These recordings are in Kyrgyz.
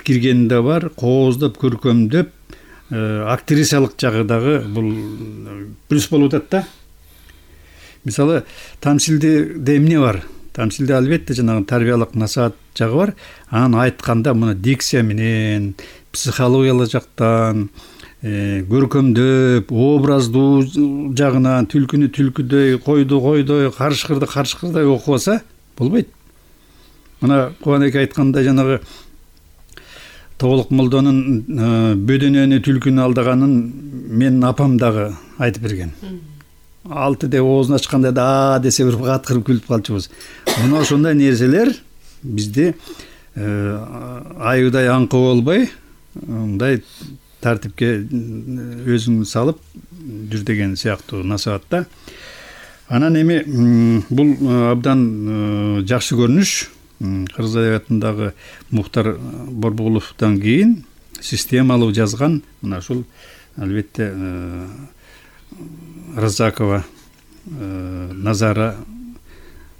киргени да бар, кооздоп, көркөмдөп, актрисалык жагы дагы бул плюс болуп атат да. Мисалы, тамсилде эмне бар? Тамсилде албетте жанагы тарбиялык насаат жагы бар. Анан айтканда мына дикция менен, психологиялык жактан, көркөмдөп, образдуу жагынан түлкүнү түлкүдөй, койду койдой, карышкырды карышкырдай окубаса болбойт. Мына Кубанеке айткандай жанагы Тоголук молдонун бөдөнөнү түлкүнү алдаганын менин апам дагы айтып берген. Алты деп оозун ачканда да десе бир каткырып күлүп калчубуз. Мына ошондой нерселер бизди айыдай аңкы болбой, мындай тартипке өзүң салып жүр деген сыяктуу насаатта. Анан эми бул абдан жакшы көрүнүш. Кыргыз адабиятындагы Мухтар Борбуловдон кийин системалуу жазган мына ушул албетте Разакова, Назара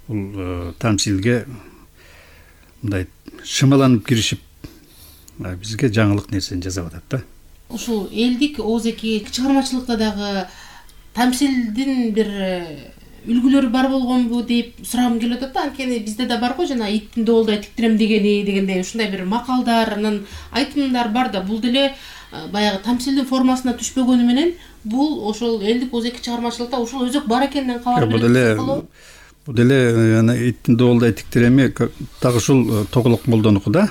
бул тамсилге мындай шымаланып киришип бизге жаңылык нерсени жасап атат да. Ушул элдик оозеки чыгармачылыкта дагы тамсилдин бир үлгүлөрү бар болгонбу деп сурагым келип атат да. Анткени бизде да бар го жана иттин доолдай тиктирем дегендей ушундай бир макалдар, анан айтымдар бар да. Бул деле баягы тамсилдин формасына түшпөгөнү менен бул ошол элдик оозеки чыгармачылыкта ушул өзөк бар экенинен кабар берет. Бул деле иттин доолдай тиктиреми так ушул Тоголук молдонуку да.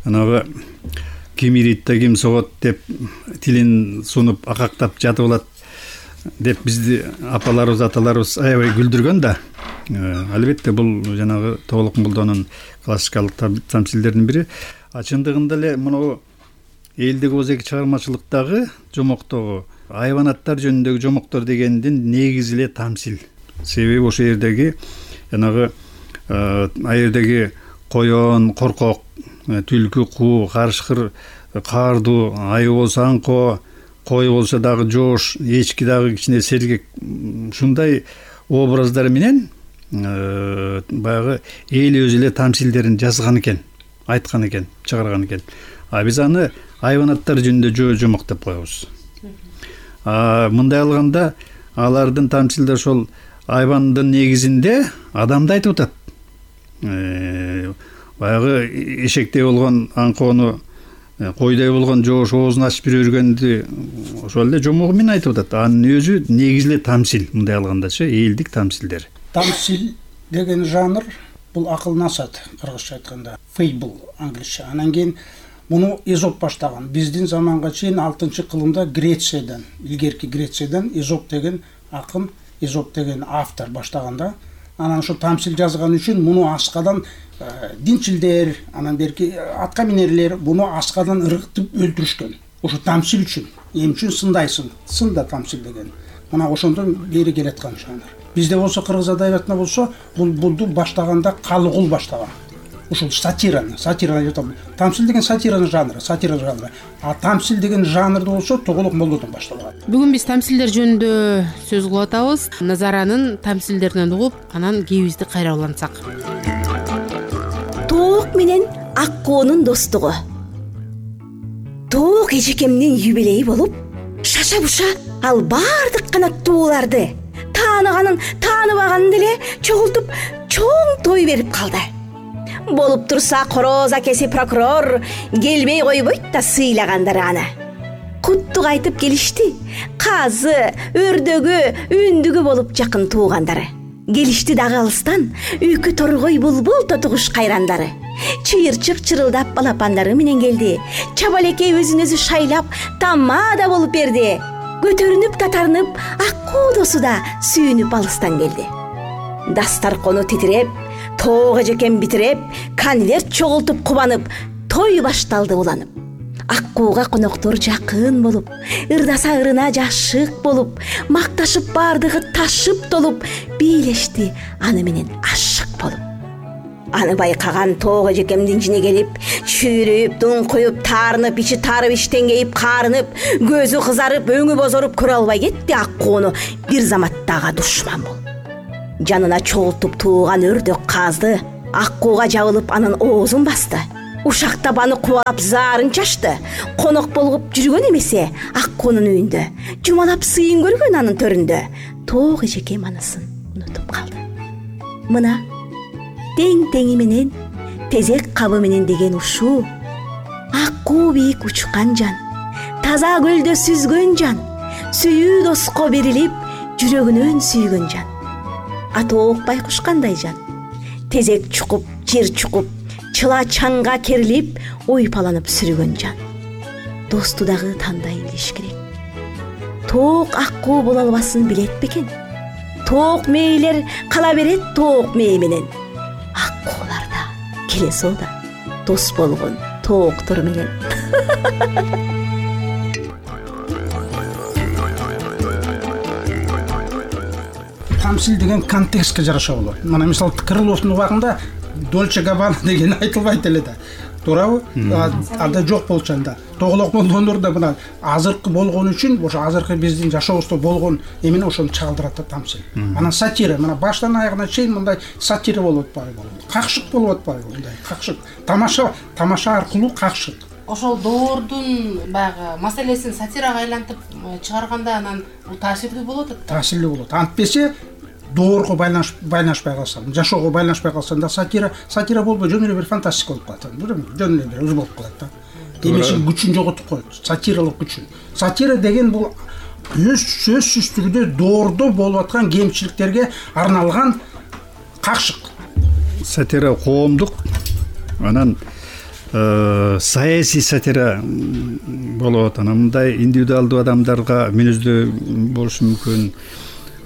Анагы ким иритте ким согот деп тилин сунуп акактап жатып алат деп бизди апаларыбыз, аталарыбыз аябай күлдүргөн да. Албетте бул жанагы Тоголук молдонун классикалык тамсилдеринин бири. Чындыгында эле мына элдик оозеки чыгармачылыктагы жомоктогу айванаттар жөнүндөгү жомоктор дегендин негизи эле тамсил. Себеби ошол жердеги жанагы аердеги коён, коркок, түлкү, куу, карышкыр, каардуу, айы болсо аңко, кой болсо дагы жоош, эчки дагы кичине сергек, ушундай образдар менен баягы эл өзү эле тамсилдерин жазган экен, айткан экен, чыгарган экен. Биз аны айванаттар жөнүндө жомок деп коебуз. Мындай алганда алардын тамсилде ошол айвандын негизинде адамды айтып атат. Баягы эшектей болгон аңкоону, койдой болгон жоош оозун ачып жүргөндү ошол эле жомогу менен айтып атат. Анын өзү негизи эле тамсил, мындай алгандачы элдик тамсилдер. Тамсил деген жанр бул акыл насаат, кыргызча айтканда fable англисче. Анан кийин муну Эзоп баштаган. Биздин заманга чейин 6-кылымда Грециядан, илгерки Грециядан Эзоп деген акын, Эзоп деген автор баштаганда. Анан ошо тамсил жазган үчүн муну аскадан динчилдер, анан берки атка минерлер буну аскадан ыргытып өлтүрүшкөн. Ошо тамсил үчүн, эм үчүн сындайсың, сында тамсил деген. Мына ошондон бери келаткан жанр. Бизде болсо кыргыз адабиятында болсо булду баштаганда Калыгул баштаган. Ушул сатираны айтам. Тамсил деген сатира жанры. А тамсил деген жанрды болсо Тоголук молдодон башталган. Бүгүн биз тамсилдер жөнүндө сөз кылып атабыз. Назаранын тамсилдеринен угуп, анан кебизди кайра улантсак. Тоок менен Аккоонун достугу. Тоок эжекемдин юбилейи болуп, шаша-буша ал бардык канаттууларды тааныганын, тааныбаганын деле чогултуп чоң той берип калды. Болуп турса короз акеси прокурор келбей койбойт да сыйлагандары аны. Куттук айтып келишти. Казы, өрдөгү, үндүгү болуп жакын туугандары. Келишти дагы алыстан үйкү торгой булбул тотугуш кайрандары. Чыйырчык чырылдап балапандары менен келди. Чабалекей өзүн өзү шайлап тамада болуп берди. Көтөрүнүп татарынып Аккуу досу да сүйүнүп алыстан келди. Дастаркону титиреп, тоок эжекем битиреп, конверт чогултуп кубанып, той башталды уланып. Аккууга коноктор жакын болуп, ырдаса ырына жашык болуп, макташып бардыгы ташып толуп, бийлешти аны менен ашык болуп. Аны байкаган тоок эжекемдин жини келип, чүйрөйүп, дуңкуюп, таарынып, ичи тарып, иштен кейип, каарынып, көзү кызарып, өңү бозоруп көрө албай кетти Аккууну бир заматтагы душман болуп. Жанына чогултуп тууган өрдөк казды Аккууга жабылып анын оозун басты. ушак табаны кубалап заарын чачты. Конок болгуп жүргөн эмесе Аккуунун үйүндө жумалап сыйын көргөн анын төрүндө. Тоок эжекем анысын унутуп калды. Мына тең-теңи менен, тезек кабы менен деген ушул Аккуу бийик учкан жан, таза көлдө сүзгөн жан, сүйүү доско берилип, жүрөгүнөн сүйгөн жан. Атоок байкуш кандай жан, тезек чукуп, жер чукуп, чыла чаңга керилип, ойпаланып сүргөн жан. Досту дагы тандай билиш керек. Тоок Аккуу боло албасын билет бекен? Тоок мээлер кала берет тоок мээ менен. Аккуулар да келесо да дос болгон тооктор менен. Тамсил деген контекстке жараша болот. Мына мисалы Крыловдун убагында Дольче Габбана деген айтылбайт эле да. Туурабы? Анда жок болчу анда. Тоголок болгондор да мына азыркы болгон үчүн, ошо азыркы биздин жашообузда болгон эмени ошону чагылдырат да тамсил. Анан сатира, мына баштан аягына чейин мындай сатира болуп атпайбы? Какшык болуп атпайбы? Мындай какшык. Тамаша аркылуу какшык. Ошол доордун баягы маселесин сатирага айлантып чыгарганда анан бул таасирдүү болот да. Таасирлүү болот. Антпесе доорго байланышпай калса, жашоого байланышпай калсанда сатира болбой жөн эле бир фантастика болуп калат. Жөн эле бир өз болуп калат да. Демешин күчүн жоготуп коет, сатиралык күчүн. Сатира деген бул сөзсүз түрдө доордо болуп аткан кемчиликтерге арналган какшык. Сатира коомдук, анан саясий сатира болот. Анан мындай индивидуалдуу адамдарга мүнөздүү болушу мүмкүн.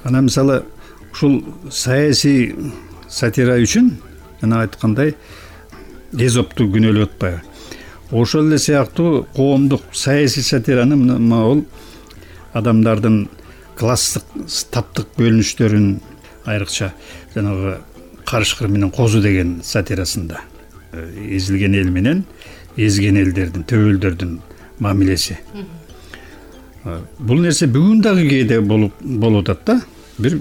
Анан мисалы ушул саясий сатира үчүн жана айткандай Эзопту күнөөлөп атпайбы? Ошол эле сыяктуу коомдук саясий сатираны могул адамдардын класстык, таптык бөлүнүштөрүн, айрыкча жанагы Карышкыр менен Козу деген сатирасында эзилген эл менен эзген элдердин, төбөлдөрдүн мамилеси. Бул нерсе бүгүн дагы кээде болуп атат да. Бир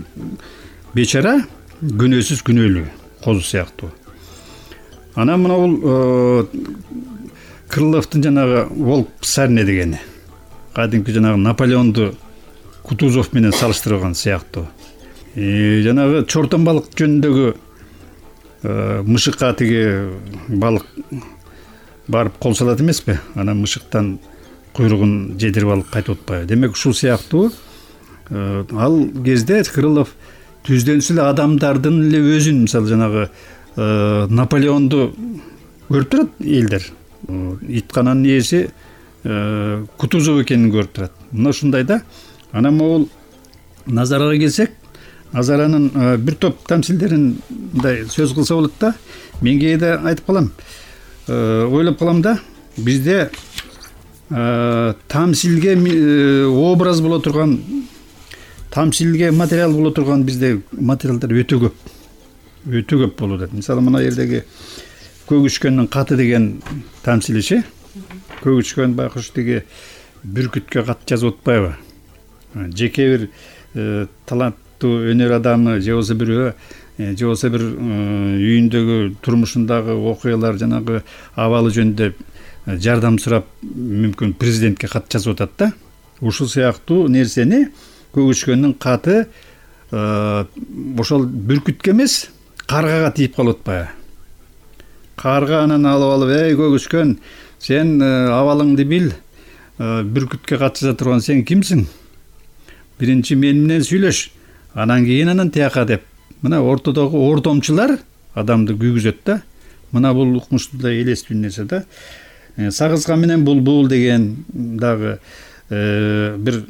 бечара күнөөсүз күнөөлүү Козу сыяктуу. Анан мына бул Крыловдун жанагы Волк Псарня дегени, кадимки жанагы Наполеонду Кутузов менен салыштырган сыяктуу. Жанагы чортон балык жөнүндөгү мышыкка тиги балык барып кол салат эмеспи? Анан мышыктан куйругун жедирип алып кайтып атпайбы? Демек ушул сыяктуу ал кезде Крылов түздөнүс эле адамдардын эле өзүн, мисалы жанагы Наполеонду көрүп турат элдер. Иткананын ээси Кутузов экенин көрүп турат. Мына ушундай да. Анан могул Назарага келсек, Назаранын бир топ тамсилдерин мындай сөз кылса болот да. Мен кээде айтып калам, ойлоп калам да, бизде тамсилге образ боло турган, тамсилге материал боло турган бизде материалдар өтө көп болуп атат. Мисалы мына жердеги Көгүчкөндүн каты деген тамсилиши. Көгүчкөн байкуш тиги бүркүткө кат жазып атпайбы? Жеке бир таланттуу өнөр адамы же болбосо бирөө, же болбосо бир үйүндөгү турмушундагы окуялар, жанагы абалы жөнүндө жардам сурап, мүмкүн президентке кат жазып атат да. Ушул сыяктуу нерсени Көгүчкөндүн каты ошол бүркүткө эмес, каргага тийип калып атпайбы? Карга анан алып, эй Көгүчкөн, сен абалыңды бил, бүркүткө кат жаза турган сен кимсиң? Биринчи мен менен сүйлөш, анан кийин анан тияка деп. Мына ортодогу ортомчулар адамды күйгүзөт да. Мына бул укмуштуу да элестүү нерсе да. Сагызга менен булбул деген дагы бир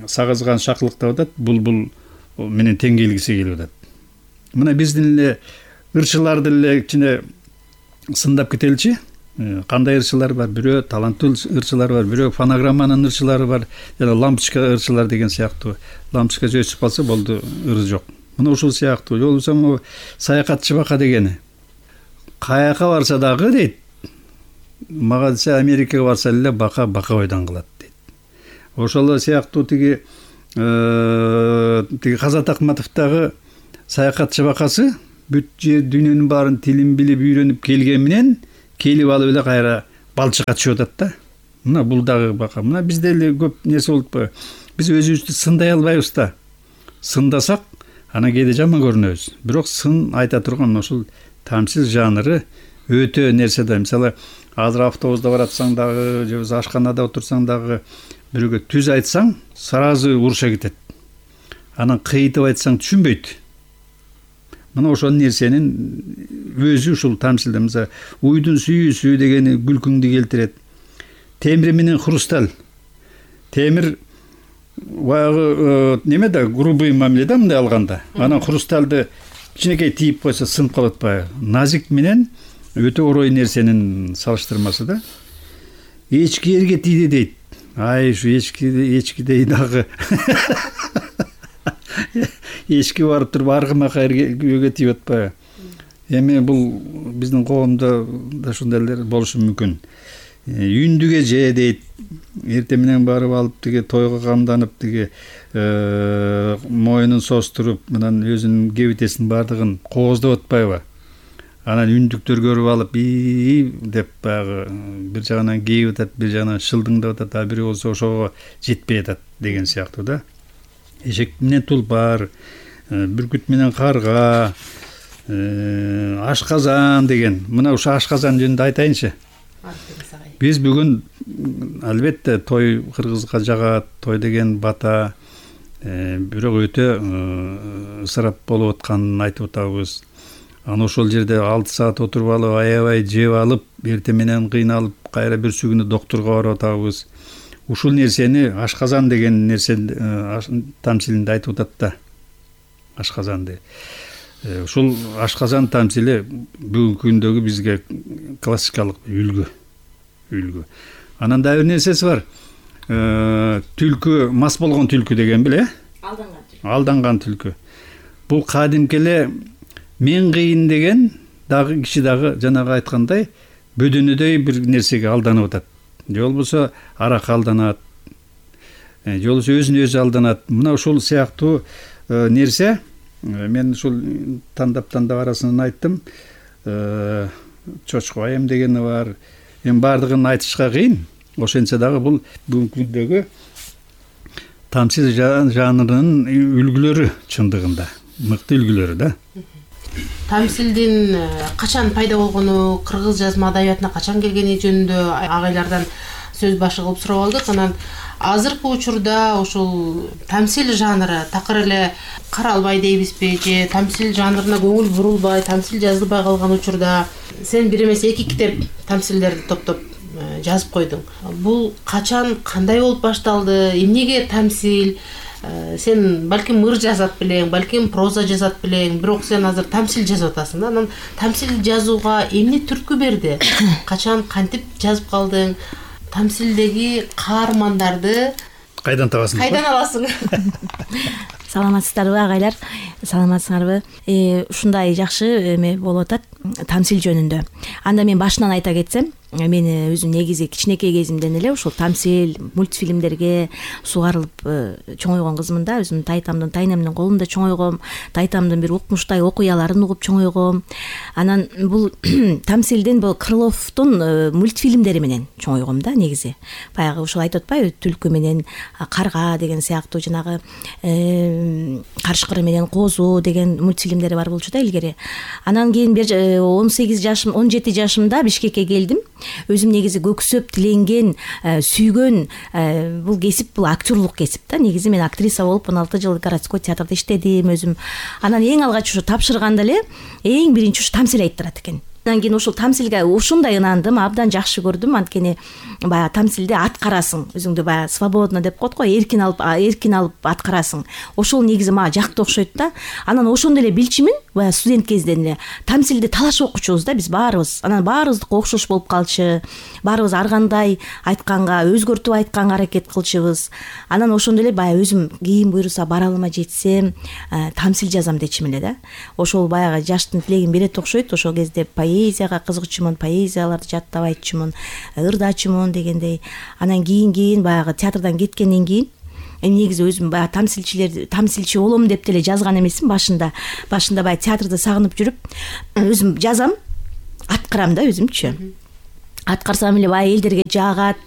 сагызган шакылыктап атат, булбул менен тең келгиси келип атат. Мына биздин эле ырчыларды эле кичине сындап кетеличи. Кандай ырчылар бар? Бирөө таланттуу ырчылар бар, бирөө фонограмманын ырчылары бар, жана лампочка ырчылар деген сыяктуу. Лампочка өчүп калса болду, ыры жок. Мына ушул сыяктуу. Же болбосо саякатчы бака дегени. Каяка барса дагы дейт, мага десе Америкага барса эле бака бойдон калат дейт. Ошол сыяктуу тиги Казат Акматовдагы саякатчы бакасы бүт жер дүйнөнүн баарын тилин билип үйрөнүп келген менен келип алып эле кайра балчыкка түшүп атат да. Мына бул дагы бака. Мына бизде эле көп нерсе болуп атпайбы? Биз өзүбүздү сындай албайбыз да. Сындасак анан кээде жаман көрүнөбүз. Бирок сын айта турган ушул тамсил жанры өтө нерсе да. Мисалы азыр автобуста баратсаң дагы же болбосо ашканада отурсаң дагы бирөөгө түз айтсаң сразу уруша кетет. Анан кыйтып айтсаң түшүнбөйт. Мына ошол нерсенин өзү ушул тамсилде. Мисалы уйдун сүйүүсү дегени күлкүңдү келтирет. Темир менен хрусталь. Темир баягы неме да грубый мамиле да мындай алганда. Анан хрустальды кичинекей тийип койсо сынып калып атпайбы? Назик менен өтө орой нерсенин салыштырмасы да. Эчки эрге тийди дейт. Ай ушу эчкидей дагы эчки барып туруп аргымак эрге тийип атпайбы? Эми бул биздин коомдо да ушундайлар болушу мүмкүн. Үндүгө же дейт. Эртең менен барып алып тиги тойго камданып тиги моюнун состуруп, мындан өзүнүн кебитесинин бардыгын кооздоп атпайбы? Анан үндүктөр көрүп алып деп баягы бир жагынан кейип атат, бир жагынан шылдыңдап атат, а бири болсо ошого жетпей атат деген сыяктуу да. Эшек менен тулпар, бүркүт менен карга, ашказан деген. Мына ушу ашказан жөнүндө айтайынчы. Биз бүгүн албетте той кыргызга жагат, той деген бата, бирок өтө ысырап болуп атканын айтып атабыз. Аны ошол жерде 6 саат отуруп алып, аябай жеп алып, эртең менен кыйналып, кайра берсү күнү доктурга барып атабыз. Ушул нерсени ашказан деген нерсе тамсилинде айтып атат да. Ашказанды. Ушул ашказан тамсили бүгүнкү күндөгү бизге классикалык үлгү. Анан да бир нерсеси бар. Түлкү, мас болгон түлкү деген беле? Алданган түлкү. Бул кадимки эле мен кыйын деген дагы киши дагы жанагы айткандай бөдөнөдөй бир нерсеге алданып атат. Же болбосо аракка алданат. Же болбосо өзүнө өзү алданат. Мына ушул сыяктуу нерсе мен ушул тандап арасынан айттым. Чочко айым дегени бар. Эми бардыгын айтышка кыйын. Ошентсе дагы бул бүгүнкү күндөгү тамсил жанрынын үлгүлөрү чындыгында. Мыкты үлгүлөрү да. Тамсилдин качан пайда болгону, кыргыз жазма адабиятына качан келгени жөнүндө агайлардан сөз башы кылып сурап алдык. Анан азыркы учурда ушул тамсил жанры такыр эле каралбай дейбизби, же тамсил жанрына көңүл бурулбай, тамсил жазылбай калган учурда сен бир эмес 2 китеп тамсилдерди топтоп жазып койдуң. Бул качан, кандай болуп башталды? Эмнеге тамсил? Сен балким ыр жазат белең, балким проза жазат белең, бирок сен азыр тамсил жазып атасың да. Анан тамсил жазууга эмне түрткү берди? Качан, кантип жазып калдың? Тамсилдеги каармандарды кайдан табасың? Кайдан аласың? Саламатсыздарбы агайлар? Саламатсыңарбы? Ушундай жакшы эме болуп атат тамсил жөнүндө. Анда мен башынан айта кетсем, мен өзүм негизи кичинекей кезимден эле ушул тамсил, мультфильмдерге сугарылып чоңойгон кызмын да. Өзүм тайтамдын, тайнемдин колунда чоңойгом, тайтамдын бир укмуштай окуяларын угуп чоңойгом. Анан бул тамсилдин бул Крыловдун мультфильмдери менен чоңойгом да негизи. Баягы ушул айтып атпайбы, түлкү менен карга деген сыяктуу жанагы карышкыры менен козу деген мультфильмдери бар болчу да илгери. Анан кийин 17 жашымда Бишкекке келдим. Өзүм негизи көксөп тиленген, сүйгөн бул кесип, бул актерлук кесип да. Негизи мен актриса болуп 16 жыл городской театрда иштедим өзүм. Анан эң алгач ушу тапшырганда эле эң биринчи ушу тамсил айттырат экен. Андан кийин ушул тамсилге ушундай ынандым, абдан жакшы көрдүм. Анткени баягы тамсилде аткарасың, өзүңдү баягы свободно деп коет го, эркин алып аткарасың. Ошол негизи мага жакты окшойт да. Анан ошондой эле билчүмүн, баягы студент кезден эле тамсилди талашып окучубуз да биз баарыбыз. Анан баарыбыздыкы окшош болуп калчу. Баарыбыз ар кандай айтканга, өзгөртүп айтканга аракет кылчубуз. Анан ошондой эле баягы өзүм кийин буйруса баралыма жетсем, тамсил жазам дечим эле да. Ошол баягы жаштын тилегин берет окшойт. Ошол кезде поэзияга кызыкчумун, поэзияларды жаттап айтчумун, ырдачумун дегендей. Анан кийин баягы театрдан кеткенден кийин негизи өзүм баягы тамсилчи болом деп деле жазган эмесмин башында. Башында баягы театрды сагынып жүрүп, өзүм жазам, аткарам да өзүмчү. аткарсам эле баягы элдерге жагат,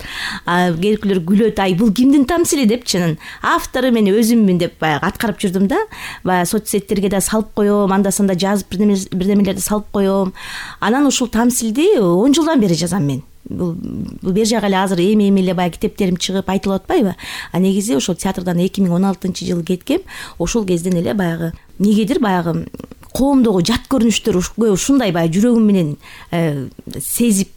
керкүлөр күлөт, ай бул кимдин тамсили деп чынын автору мен өзүммүн деп баягы аткарып жүрдүм да. Баягы соцсеттерге да салып коем, анда санда жазып бирдемелерди салып коем. Анан ушул тамсилди 10 жылдан бери жазам мен. Бул бер жагы эле азыр эми эле баягы китептерим чыгып айтылып атпайбы? Негизи ошол театрдан 2016-жылы кеткем. Ошол кезден эле баягы негедир баягы коомдогу жат көрүнүштөр ушундай баягы жүрөгүм менен сезип,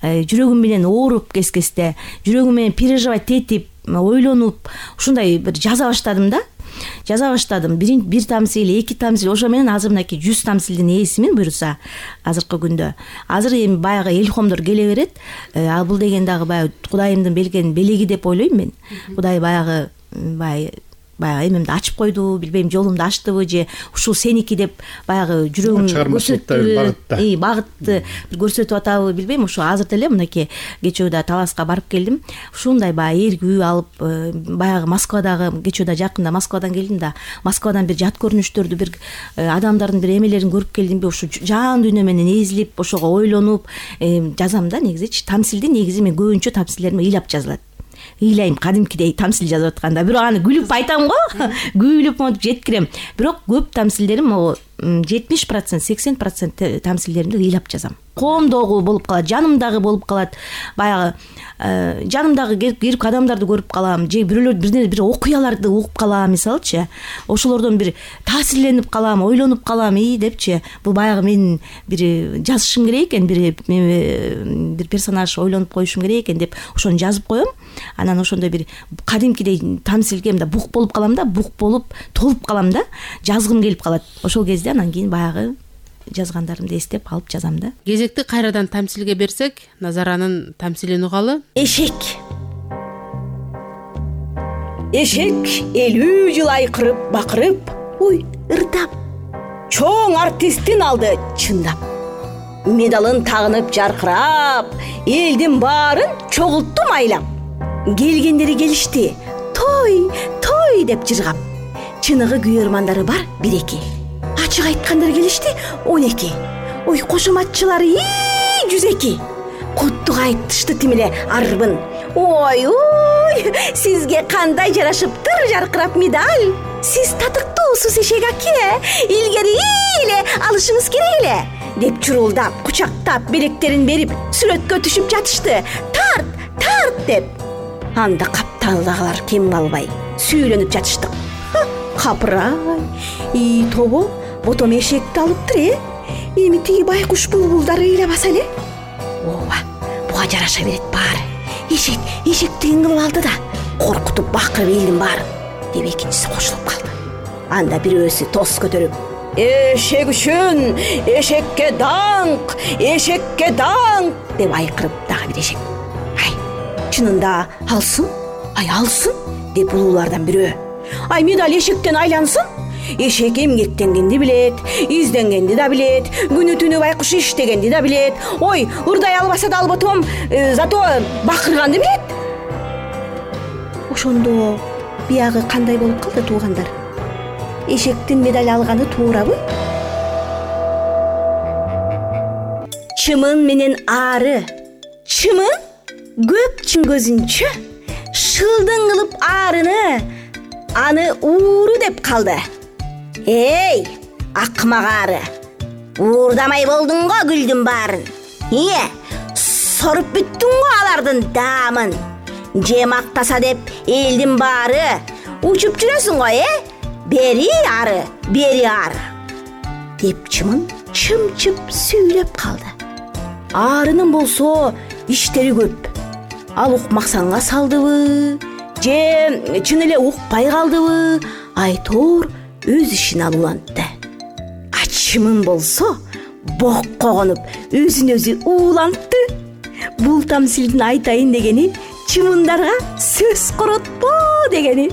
жүрөгүм менен ооруп кескесте, жүрөгүм менен переживать этип, ойлонуп ушундай бир жаза баштадым да. Жаза баштадым. Бир тамсил, 2 тамсил, ошо менен азыр мынакей 100 тамсилдин ээсимин буюрса азыркы күндө. Азыр эми баягы илхомдор келе берет. Ал бул деген дагы баягы Кудайымдын берген белеги деп ойлойм мен. Кудай баягы эмемди ачып койду, билбейм, жолумду ачтыбы же ушул сеники деп баягы жүрөгүм көрсөттү, багытты бир көрсөтүп атабы, билбейм. Ошо азыр деле мынакей кечөө да Таласка барып келдим. Ушундай баягы эргүү алып, баягы Москвадагы кечөө да жакында Москвадан келдим да, Москвадан бир жат көрүнүштөрдү, бир адамдардын бир эмелерин көрүп келдимби, ушу жан дүйнө менен эзилип, ошого ойлонуп жазам да. Негизичи тамсилди негизи мен көбүнчө тамсилдерим ыйлап жазылат. Ыйлайм кадимкидей тамсил жазып атканда, бирок аны күлүп айтам го, күлүп монтип жеткирем. Бирок көп тамсилдерим 70%, 80% тамсилдеримди ыйлап жазам. Коомдогу болуп калат, жанымдагы болуп калат. Баягы жанымдагы келип адамдарды көрүп калам, же бир окуяларды угуп калам, мисалычы. Ошолордон бир таасирленип калам, ойлонуп калам, депчи. Бул баягы мен бир жазышым керек экен, бир персонаж ойлонуп коюшум керек экен деп ошону жазып коем. Анан ошондой бир кадимкидей тамсилге мында бук болуп калам да, бук болуп толуп калам да, жазгым келип калат. Ошол кезде анан кийин баягы жазгандарымды эстеп алып жазам да. Кезекти кайрадан тамсилге берсек, Назаранын тамсилин угалы. Эшек 50 жыл айкырып, бакырып, ырдап, чоң артисттин алды чындап. Медалын тагынып жаркырап, элдин баарын чогултту майлап. Келгендери келишти, той деп жыргап. Чыныгы күйөрмандары бар 1-2. Ачык айткандар келишти 12. Кошоматчылары 102. Куттук айтышты тимиле арбын. Сизге кандай жарашыптыр жаркырап медаль. Сиз татыктуусуз эшек аке, илгери эле алышыңыз керек эле деп чурулдап, кучактап, белектерин берип, сүрөткө түшүп жатышты. Тарт деп. Анда капталдагылар кем калбай сүйүлөнүп жатыштык. Капырай, тобо ботом эшекти алыптыр, эми тиги байкуш булбулдар ыйлабаса эле. Буга жараша берет баары. Эшектигин кылып алды да, коркутуп бакырып элдин баарын деп экинчиси кошулуп калды. Анда бирөөсү тос көтөрүп, эшек үчүн эшекке даңк деп айкырып дагы бир эшек. Чынында алсын деп улуулардан бирөө. Медаль эшектен айлансын. Эшек эмгектенгенди билет, изденгенди да билет, күнү түнү байкуш иштегенди да билет. Ырдай албаса да алботом, зато бакырганды билет. Ошондо биягы кандай болуп калды туугандар? Эшектин медаль алганы туурабы? Чымын менен ары. Чымын көп көзүнчө шылдың кылып арыны, аны ууру деп калды. Акмак ары, уурдамай болдуң го гүлдүн баарын. Соруп бүттүң го алардын даамын. Же мактаса деп элдин баары, учуп жүрөсүң го, бери ары деп чымын чымчып сүйлөп калды. Арынын болсо иштери көп. Ал укмаксанга салдыбы, же чын эле укпай калдыбы, айтор өз ишин алуулантты. Чымын болсо бокко конуп өзүн өзү уулантты. Бул тамсилдин айтайын дегени чымындарга сөз коротпо дегени.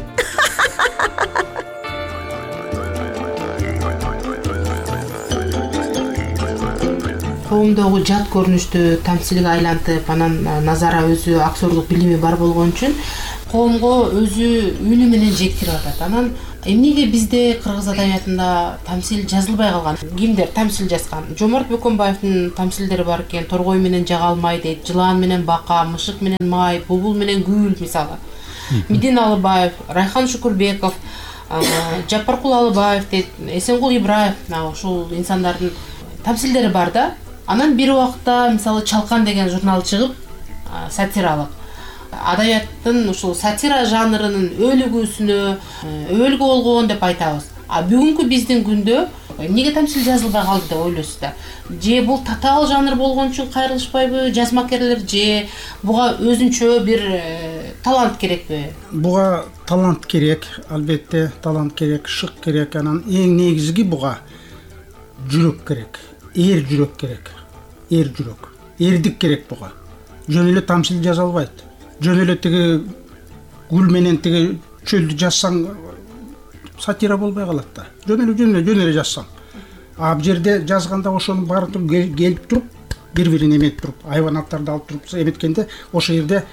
Коомдогу жат көрүнүштү тамсилге айлантып, анан Назара өзү актердук билими бар болгон үчүн коомго өзү үнү менен жектирип атат. Анан эмнеге бизде кыргыз адабиятында тамсил жазылбай калган? Кимдер тамсил жазган? Жомарт Бөкөнбаевдин тамсилдери бар экен. Торгой менен жага алмай дейт, жылан менен бака, мышык менен май, булбул менен гүл мисалы. Мидин Алыбаев, Райхан Шукурбеков, Жапаркул Алыбаев дейт, Эсенгул Ибраев, ушул инсандардын тамсилдери бар да. Анан бир убакта мисалы Чалкан деген журнал чыгып, сатиралык адабияттын ушул сатира жанрынын өлүгүүсүнө өлгө болгон деп айтабыз. А бүгүнкү биздин күндө эмнеге тамсил жазылбай калды деп ойлойсуз да? Же бул татаал жанр болгон үчүн кайрылышпайбы жазмакерлер, же буга өзүнчө бир талант керекпи? Буга талант керек, албетте талант керек, шык керек. Анан эң негизги буга жүрөк керек, эр жүрөк керек. Эр жүрөк, эрдик керек буга. Жөн эле тамсил жаза албайт. Жөн эле тиги гүл менен тиги чөлдү жазсаң сатира болбой калат да. Жөн эле жазсаң. А бул жерде жазганда ошонун баарын келип туруп, бири-бирин эметип туруп, айванаттарды алып туруп эметкенде ошол жерде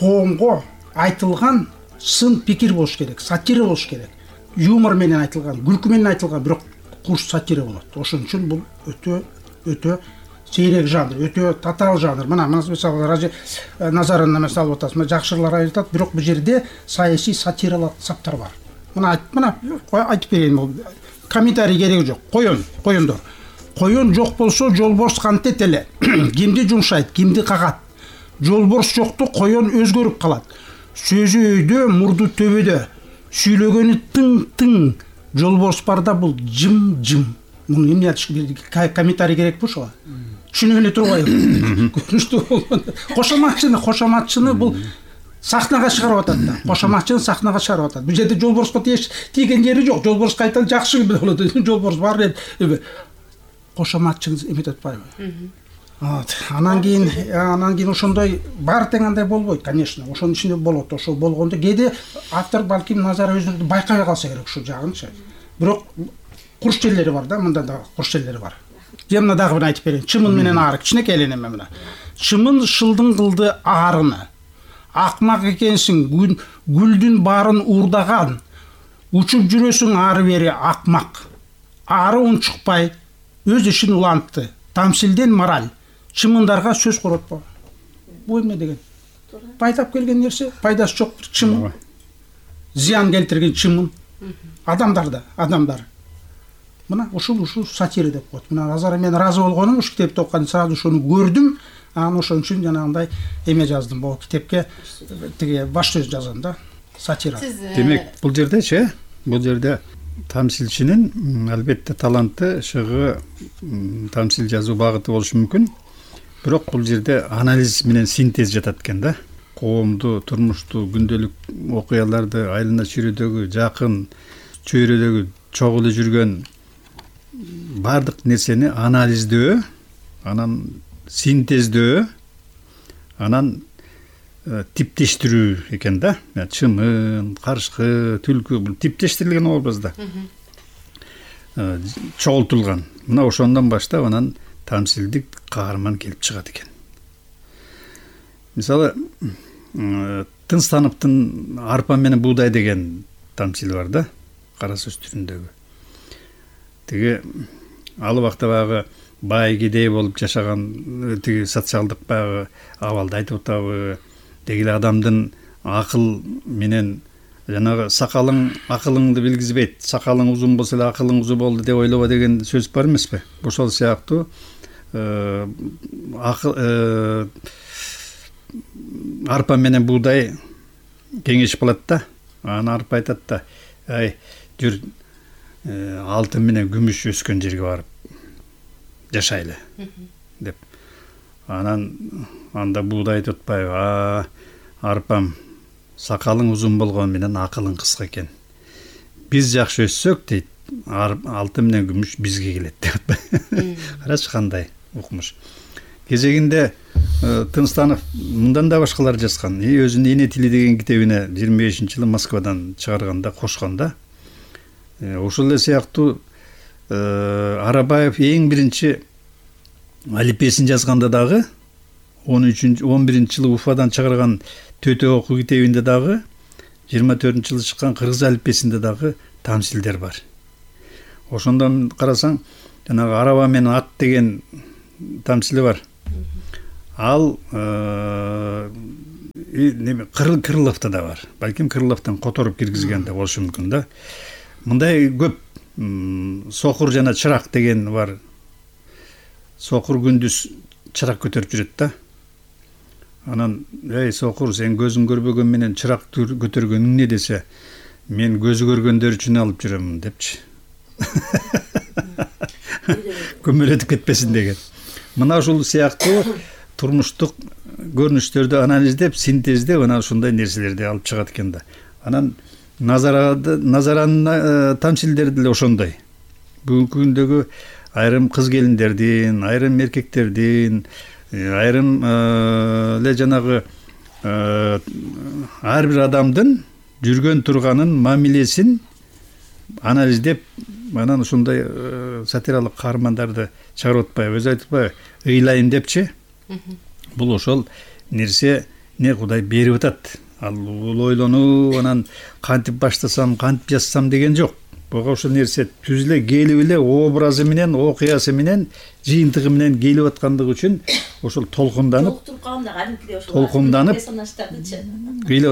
коомго айтылган сын пикир болуш керек, сатира болуш керек. Юмор менен айтылган, күлкү менен айтылган, бирок куш сатира болот. Ошон үчүн бул өтө сейрек жанр, өтө татаал жанр. Мына мисалы Ражи Назарына мисалы атасыз, жакшылар айтат, бирок бул жерде саясий сатиралык саптар бар. Мына айтып берейин, бул комментарий кереги жок. Коёндор. Коён жок болсо жолборс кантет эле. Кимди жумшайт, кимди кагат. Жолборс жокту коён өзгөрүп калат. Сөзү өйдө, мурду төбөдө. Сүйлөгөнү тың-тың. Жолборс барда бул жым-жым. Муну эмне айтыш керек? Комментарий керекпи ошого? Түшүнүп эле турбайбы? Көрүнүштүү болгондо. Кошоматчыны бул сахнага чыгарып атат да. Кошоматчыны сахнага чыгарып атат. Бул жерде жолборско тийген жери жок. Жолборс кайта жакшы болот. Жолборс бар эле. Кошоматчыны эметип атпайбы? Анан кийин ошондой баары тең андай болбойт, конечно. Ошонун ичинде болот. Ошол болгондо кээде автор балким назар өзү байкабай калса керек ушул жагынчы. Бирок курч жерлери бар да, мында да курч жерлери бар. Же мына дагы бир айтып берейин. Чымын менен ары кичинекей эле неме мына. Чымын шылдың кылды аарыны. Акмак экенсиң, гүлдүн баарын уурдаган. Учуп жүрөсүң ары бери акмак. Ары унчукпай, өз ишин улантты. Тамсилден мораль. Чымындарга сөз коротпо. Бул эмне деген? Пайдап келген нерсе, пайдасы жок чымын. Зыян келтирген чымын. Адамдар. Мына ушул сатира деп коет. Мына Назар мен разы болгонум ушу китепти окуганда сразу ошону көрдүм. Анан ошон үчүн жанагындай эме жаздым. Бул китепке тиги баш сөз жазам да, сатира. Демек, бул жерде тамсилчинин албетте таланты, шыгы, тамсил жазуу багыты болушу мүмкүн. Бирок бул жерде анализ менен синтез жатат экен да. Коомду, турмушту, күндөлүк окуяларды, айлана чүйрөдөгү, жакын чөйрөдөгү чогуу эле жүргөн бардык нерсени анализдөө, анан синтездөө, анан типтештирүү экен да. Чымын, карышкы, түлкү бул типтештирилген образда чогултулган. Мына ошондон баштап анан тамсилдик каарман келип чыгат экен. Мисалы, Тынстановдун арпа менен буудай деген тамсили бар да, кара сөз түрүндөгү. Тиги ал убакта багы бай кедей болуп жашаган тиги социалдык багы абалды айтып атабы, дегиле адамдын акыл менен жанагы сакалың акылыңды билгизбейт, сакалың узун болсо эле акылың узун болду деп ойлобо деген сөз бар эмеспи? Ошол сыяктуу арпа менен буудай кеңешип калат да. Анан арпа айтат да, ай жүр алтын менен күмүш өскөн жерге барып жашайлы деп. Анан анда буудай айтып атпайбы? Арпам, сакалың узун болгону менен акылың кыска экен. Биз жакшы өссөк дейт, алтын менен күмүш бизге келет деп атпайбы? Карачы кандай укмуш. Кезегинде Тынстанов мындан да башкалар жазган. Өзүнүн Эне тили деген китебине 25-жылы Москвадан чыгарганда кошконда. Ошол эле сыяктуу Арабаев эң биринчи алипесин жазганда дагы 11-жылы Уфадан чыгарган Төтө окуу китебинде дагы 24-жылы чыккан кыргыз алипбесинде дагы тамсилдер бар. Ошондон карасаң, жанагы араба менен ат деген тамсили бар. Ал Крыловда да бар. Балким Крыловдон которуп киргизген да болушу мүмкүн да. Мындай көп сокур жана чырак деген бар. Сокур күндүз чырак көтөрүп жүрөт да. Анан эй сокур, сен көзүң көрбөгөн менен чырак көтөргөнүң эмне десе, мен көзү көргөндөр үчүн алып жүрөм депчи. Көмөлөтүп кетпесин деген. Мына ушул сыяктуу турмуштук көрүнүштөрдү анализдеп, синтездеп, анан ушундай нерселерди алып чыгат экен да. Анан назаранын тамсилдери деле ошондой. Бүгүнкү күндөгү айрым кыз келиндердин, айрым эркектердин, айрым эле жанагы ар бир адамдын жүргөн турганын мамилесин анализдеп, анан ушундай сатиралык каармандарды чыгарып атпайбы, өзү айтпайбы, ыйлайын депчи. Бул ошол нерсе не Кудай берип атат. Ал ойлонуп, анан кантип баштасам, кантип жазсам деген жок. Буга ошол нерсе түзүлө келип эле образы менен, окуясы менен, жыйынтыгы менен келип аткандыгы үчүн ошол толкунданып,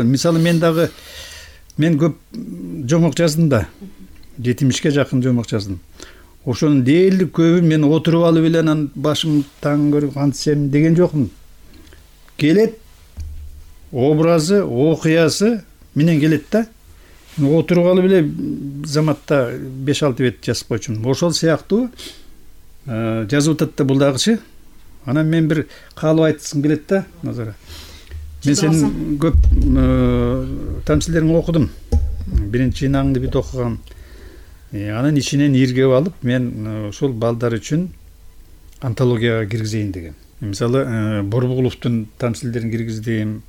мисалы мен көп жомок жаздым да. 70ке жакын жомок жаздым. Ошонун дээрлик көбү мен отуруп алып эле анан башым таң көрүп кантсем деген жокмун. Келет образы, окуясы менен келет да. Отуруп алып эле заматта 5-6 бет жазып койчумун. Ошол сыяктуу жазып атат да бул дагычы. Анан мен бир каалоо айтсым келет да, Назара. Мен сенин көп тамсилдериңди окудум. Биринчи жыйнагыңды бүт окугам. Анын ичинен иргеп алып, мен ошол балдар үчүн антологияга киргизейин деген. Мисалы, Борбугуловдун тамсилдерин киргиздим,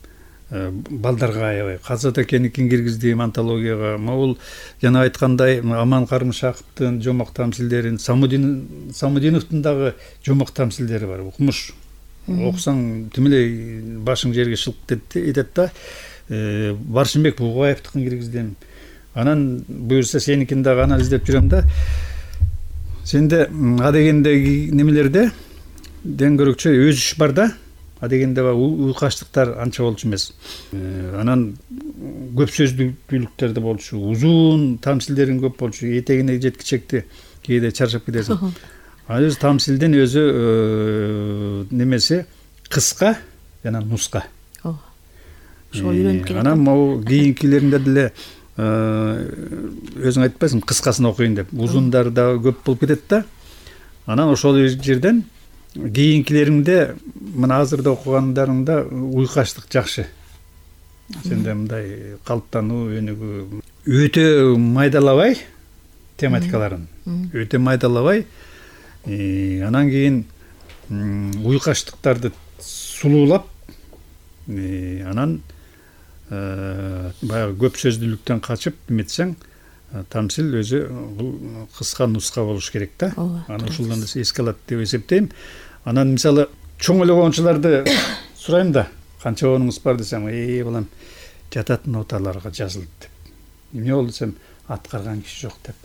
балдарга аябай, Казат экеникин киргиздим антологияга. Могул жана айткандай Аман Карымшаковдун жомок тамсилдерин, Самудиновдун дагы жомок тамсилдери бар. Укмуш. Окусаң тим эле башың жерге шылып этет да. Баршынбек Бугаевдикин киргиздим. Анан буюрса сеникин дагы анализдеп жүрөм да. Сенде адегендеги немелерде денгөрөкчө өзүш бар да. Адегенде уйкаштыктар анча болчу эмес. Анан көп сөздүүлүктөрдө болчу, узун тамсилдерин көп болчу, этегине жеткичекти кээде чарчап кетесиң. Ал өзү тамсилдин өзү немеси кыска жана нуска. Ошол үйрөнүп келет. Анан могу кийинкилеринде деле өзүң айтпайсың, кыскасын окуйын деп. Узундар да көп болуп кетет да. Анан ошол жерден кийинкилериңде мына азырда окугандарыңда уйкаштык жакшы. Сенде мындай калыптануу өнүгүү өтө майдалабай тематикаларын. Өтө майдалабай, анан кийин уйкаштыктарды сулуулап, анан баягы көп сөздүүлүктөн качып эметсең, тамсил өзү бул кыска нуска болуш керек да. Анан ушулдан эске алат деп эсептейм. Анан мисалы чоң эле коомчуларды сурайм да, канча онуңуз бар десем, балам жатат ноталарга жазылды деп. Эмне болду десем, аткарган киши жок деп.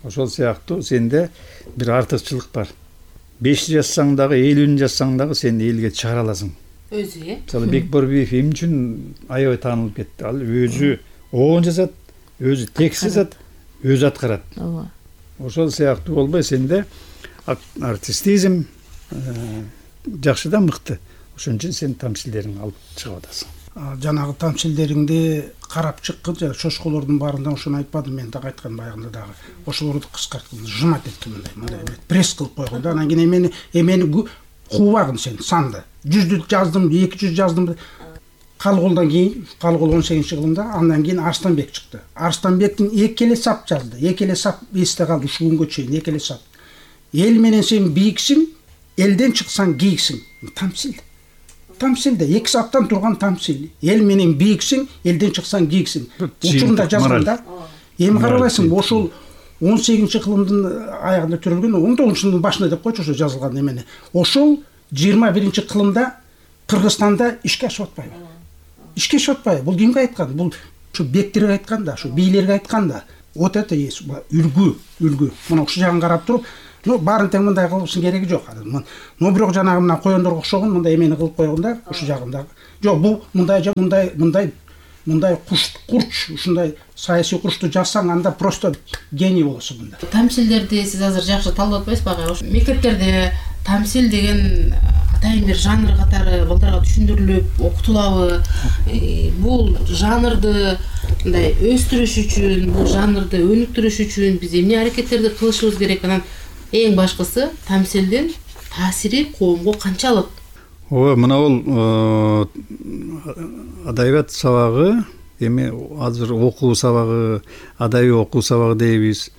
Ошол сыяктуу сенде бир артыкчылык бар. 5 жазсаң дагы, 50 жазсаң дагы сен элге чыгара аласың. Өзү, Мисалы Бекборбиев эмне үчүн аябай таанылып кетти? Ал өзү оон жазат, өзү текст жазат, өзү аткарат. Ошол сыяктуу болбой сенде артистизм жакшы да, мыкты. Ошон үчүн сен тамсилдериңди алып чыгып атасың. Жанагы тамсилдериңди карап чыккын, жана шошколордун баарында ошону айтпадым мен дагы айткан баягында дагы. Ошолорду кыскарткын, жымат эткин мындай пресс кылып койгон да. Анан кийин эмени кубагын сен санды. 100 жаздым, 200 жаздым. Калголдон кийин, Калгол 18-кылымда, андан кийин Арстанбек чыкты. Арстанбектин 2 эле сап жазды. 2 эле сап эсте калды ушул күнгө чейин, 2 эле сап. Эл менен сен бийиксиң, элден чыксаң кийиксиң. Тамсил. Тамсилде 2 саптан турган тамсил. Эл менен бийиксиң, элден чыксаң кийиксиң. Учурунда жазганда. Эми карабайсың, ошол 18-кылымдын аягында төрөлгөн, 19-кылымдын башында деп койчу ошо жазылган эмени. Ошол 21-кылымда Кыргызстанда ишке ашып атпайбы? Ишке ашып атпайбы? Бул кимге айткан? Бул ушу бектерге айтканда, ушу бийлерге айтканда вот это есть үлгү. Мына ушул жагын карап туруп, баарын тең мындай кылышың кереги жок. Бирок жанагы мына коёндорго окшогон мындай эмени кылып койгонда, ушул жагында жок, бул мындай курч, ушундай саясий курчту жазсаң, анда просто гений болосуң мында. Тамсилдерди сиз азыр жакшы талдап атпайсызбы ага? Ошо мектептерде тамсил деген атайын бир жанр катары балдарга түшүндүрүлүп окутулабы? Бул жанрды мындай өстүрүш үчүн, бул жанрды өнүктүрүш үчүн биз эмне аракеттерди кылышыбыз керек? Анан эң башкысы тамсилдин таасири коомго канчалык? Мына бул адабият сабагы, эми азыр окуу сабагы, адабий окуу сабагы дейбиз.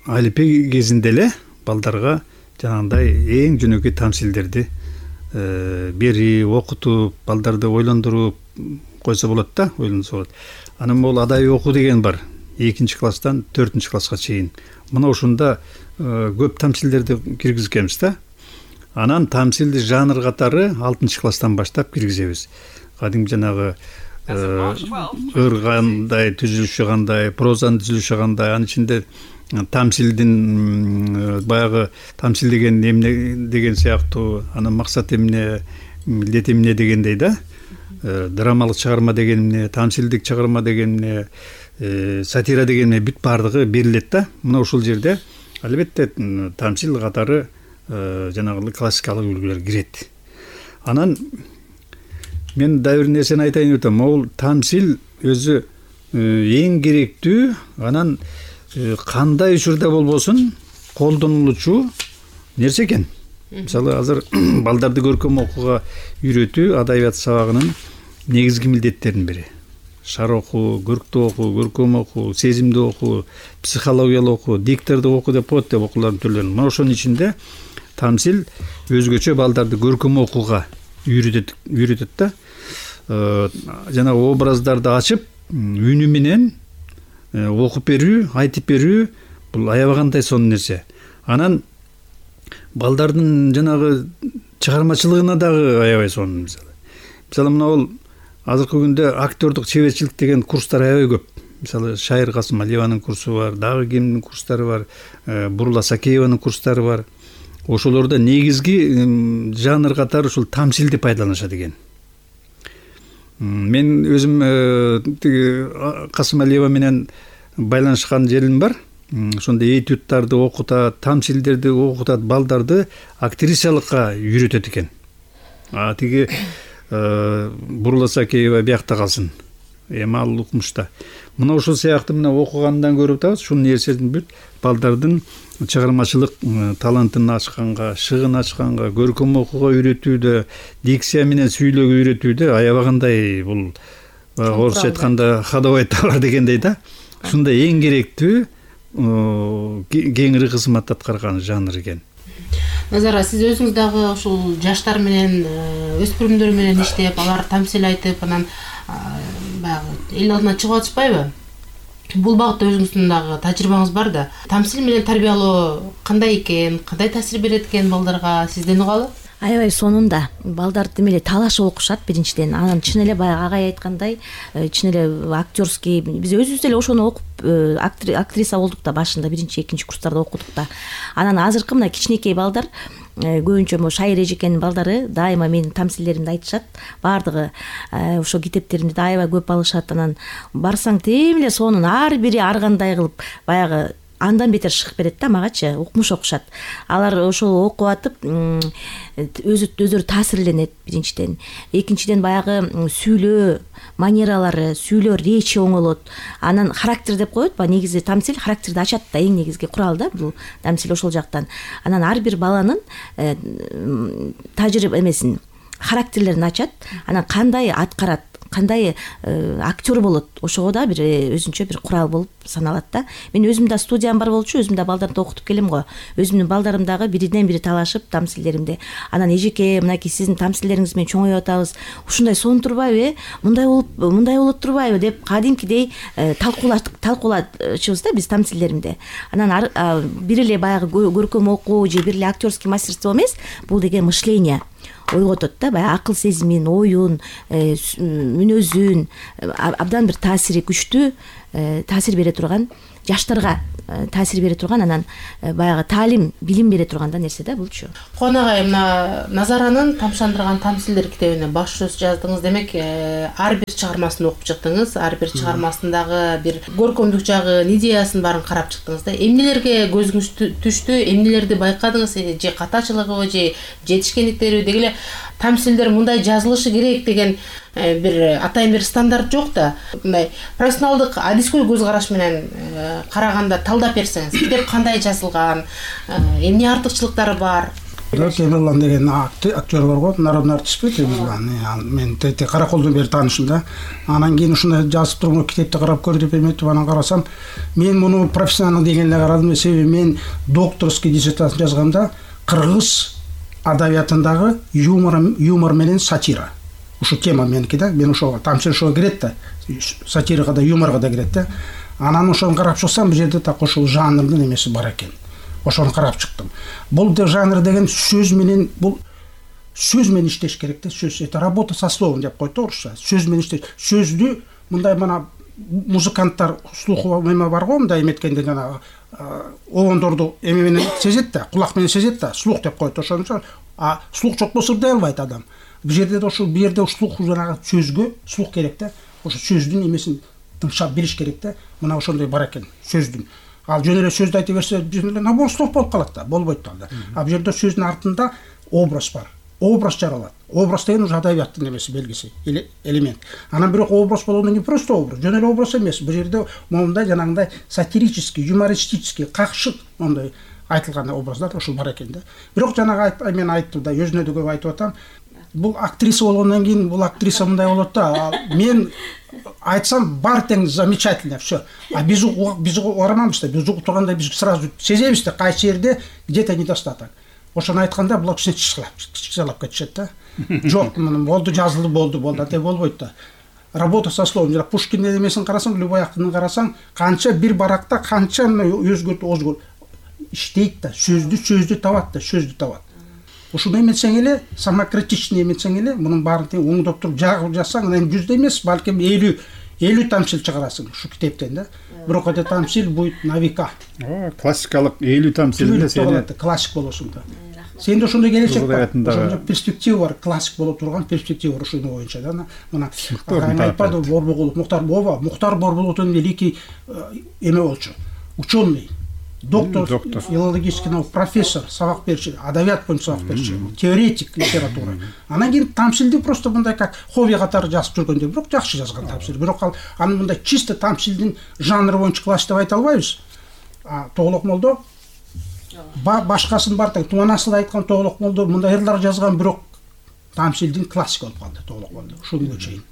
Алипе кезинде эле балдарга жанагындай эң жөнөкөй тамсилдерди берип, окутуп, балдарды ойлондуруп койсо болот да, ойлонсо болот. Анан бул адабий окуу деген бар. 2-класстан 4-класска чейин. Мына ушунда көп тамсилдерди киргизгенбиз да. Анан тамсилди жанр катары 6-класстан баштап киргизебиз. Кадимки жанагы ыр кандай, түзүлүшү кандай, прозанын түзүлүшү кандай, анын ичинде тамсилдин баягы тамсил деген эмне деген сыяктуу, анын максаты эмне, милдети эмне дегендей да. Драмалык чыгарма деген эмне, тамсилдик чыгарма деген эмне, сатира деген эмне, бүт баардыгы берилет да. Мына ушул жерде албетте тамсил катары жанагы классикалык үлгүлөр кирет. Анан мен да бир нерсени айтайын деп атам. Бул тамсил өзү эң керектүү, анан кандай учурда болбосун колдонулуучу нерсе экен. Мисалы азыр балдарды көркөм окууга үйрөтүү адабият сабагынын негизги милдеттеринин бири. Шар окуу, көрктүү окуу, көркөм окуу, сезимдүү окуу, психологиялык окуу, диктордук окуу деп коет деп окуулардын түрлөрүн. Мына ошонун ичинде тамсил өзгөчө балдарды көркөм окууга үйрөтөт да. Жанагы образдарды ачып, үнү менен окуп берүү, айтып берүү бул аябагандай сонун нерсе. Анан балдардын жанагы чыгармачылыгына дагы аябай сонун. Мисалы мына бул азыркы күндө актёрдук чеберчилик деген курстар аябай көп. Мисалы Шайыр Касымалиеванын курсу бар, дагы кимдин курстары бар, Бурула Сакееванын курстары бар. Ошолордо негизги жанр катары ушул тамсилди пайдаланышат экен. Мен өзүм Касымалиева менен байланышкан жерим бар. Ошондо этюдтарды окутат, тамсилдерди окутат, балдарды актрисалыкка үйрөтөт экен. Тиги Бурула Сакеева биякта калсын. Эми ал укмушта. Мына ушул сыяктуу мына окугандан көрүп атабыз, ушул нерседин бүт балдардын чыгармачылык талантын ачканга, шыгын ачканга, көркөм окууга үйрөтүүдө, дикция менен сүйлөөгө үйрөтүүдө аябагандай бул орусча айтканда ходовой товар дегендей да. Ушунда эң керектүү кеңири кызмат аткарган жанр экен. Назара, сиз өзүңүз дагы ушул жаштар менен, өспүрүмдөр менен иштеп, алар тамсил айтып, анан баягы эл алдына чыгып атышпайбы? Бул багытта өзүңүздүн дагы тажрыйбаңыз бар да. Тамсил менен тарбиялоо кандай экен, кандай таасир берет экен балдарга, сизден угалы? Аябай сонунда балдар демеле талашып окушат биринчиден. Анан чын эле баягы агай айткандай, чын эле актёрский биз өзүбүз эле ошону окуп актриса болдук да башында 1-2 курстарда окудук да. Анан азыркы мына кичинекей балдар көбүнчө могу Шайыр эжекенин балдары дайыма менин тамсилдеримди айтышат. Баардыгы ошо китептеримди да аябай көп алышат. Анан барсаң тең эле сонун ар бири ар кандай кылып баягы андан бетер чыгып берет да магачы, укмуш окушат. Алар ошол окуп атып өзүрү таасирленет биринчиден. Экинчиден баягы сүйлөө манералары, сүйлөө речи оңолот. Анан характер деп коет ба, негизи тамсил характерди ачат да, эң негизги курал да бул тамсил ошол жактан. Анан ар бир баланын тажрыйба эмесин, характерлерин ачат. Анан кандай аткарат, кандай актер болот, ошого да бир өзүнчө бир курал болуп саналат да. Мен өзүм да студиям бар болчу, өзүм да балдарды окутуп келем го. Өзүмдүн балдарым дагы биринен бири талашып тамсилдеримди. Анан эжеке, мынакей сиздин тамсилдериңиз менен чоңоюп атабыз. Ушундай сонун турбайбы, мындай болот турбайбы деп кадимкидей талкуулачубуз да биз тамсилдеримди. Анан бир эле баягы көркөм окуу же бир эле актерский мастерство эмес, бул деген мышление. ойготот да, баягы акыл сезимин, оюн, мүнөзүн абдан бир таасири күчтүү, таасир бере турган, жаштарга таасир бере турган, анан баягы таалим, билим бере турган да нерсе да булчу. Конагай, мына Назаранын Тамшандырган тамсилдер китебине баш сөз жаздыңыз. Демек, ар бир чыгармасын окуп чыктыңыз, ар бир чыгармасындагы бир көркөмдүк жагын, идеясын баарын карап чыктыңыз да. Эмнелерге көзүңүз түштү, эмнелерди байкадыңыз, же катачылыгыбы, же жетишкендиктериби? Деги эле тамсилдер мындай жазылышы керек деген бир атайын бир стандарт жок да. Мындай профессионалдык адискөй көз караш менен караганда талдап берсеңиз, китеп кандай жазылган, эмне артыкчылыктары бар? Темирлан деген актер бар го, народный артистпи Темирлан. Мен Караколдон бери таанышым да. Анан кийин ушундай жазып турган китепти карап көр деп эметип, анан карасам, мен муну профессионал деген эле карадым. Себеби мен докторский диссертацияны жазганда кыргыз адабиятындагы юмор менен сатира. Ушу тема меники да. Мен ошого тамчы ошого кирет да. Сатирага да, юморго да кирет да. Анан ошону карап чыксам, бул жерде так ошол жанрдын эмеси бар экен. Ошону карап чыктым. Бул жанр деген сөз менен, бул сөз менен иштеш керек да. Сөз, это работа со словом деп койду орусча. Сөз менен иштеш. Сөздү мындай мына музыканттар слухова эме бар го, мындай эметкенде жана обондорду эме менен сезет да, кулак менен сезет да, слух деп койду ошончо. А слух жок болсо ырдай албайт адам. Бул жерде да ошол бирде слух жанагы сөзгө слух керек да. Ошо сөздүн эмесин тыңшап билиш керек да. Мына ошондой бар экен сөздүн. Ал жөн эле сөздү айта берсе, жөн эле набор слов болуп калат да, болбойт да. А бул жерде сөздүн артында образ бар. Образ жаралат. Образ деген уже адабияттын эмеси, белгиси, элемент. Анан бирок образ болгондон кийин просто образ, жөн эле образ эмес. Бул жерде момундай жанагындай сатирический, юмористический, какшык мондай айтылган образдар ошол бар экен да. Бирок жанагы мен айттым да, өзүнө да көп айтып атам. Бул актриса болгондон кийин бул актриса мындай болот да. Мен айтсам бар тең замечательно, всё. А биз угараманбыз да, биз угуп турганда биз сразу сезебиз да, кайсы жерде где-то недостаток. Ошону айтканда булар кичикчалап кетишет да. Жок, болду, жазылды, болду, ате болбойт да. Работа со словом. Жана Пушкиндин эмесин карасаң, любой актын карасаң, канча бир баракта канча өзгөрт иштейт да, сөздү табат да, сөздү табат. Ушуну эметсең эле, самокритичный эметсең эле, мунун баарын тең оңдоп туруп жагып жазсаң, анан 100 эмес, балким 50 тамсил чыгарасың ушу китептен да. Бирок эта тамсил будет на века. Классикалык 50 тамсил эле сени классик болосуң да. Сенде ошондой келечек бар. Ошондой перспектива бар, классик боло турган перспектива бар ушуну боюнча да. Мына айтпады Борбогулов, Мухтар Борбогуловдун великий эме болчу. Ученый, доктор филологических наук, профессор, сабак берчү, адабият боюнча сабак берчү, теоретик литература. Анан кийин тамсилди просто мындай как хобби катары жазып жүргөндө, бирок жакшы жазган тамсил. Бирок ал аны мындай чисто тамсилдин жанры боюнча классик деп айта албайбыз. Тоголок молдо башкасын бар тең, Туманасы да айткан Тоголок молдо мындай ырлар жазган, бирок тамсилдин классик болуп калды Тоголок молдо. Ушуга чейин.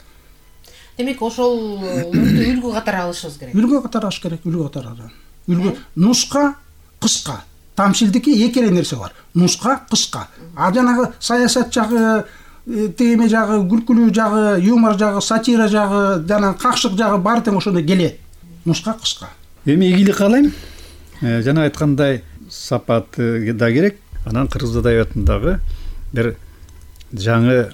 Демек, ошол үлгү катары алышыбыз керек. Үлгү катары алыш керек, үлгү катары. Үлгү нуска, кыска. Тамсилдики эки эле нерсе бар. Нуска, кыска. А жанагы саясат жагы, теме жагы, күлкүлүү жагы, юмор жагы, сатира жагы, жана какшык жагы бар тең ошондой келет. Нуска, кыска. Эми ийгилик каалайм. Жана айткандай сапат да керек. Анан кыргыз адабиятындагы бир жаңы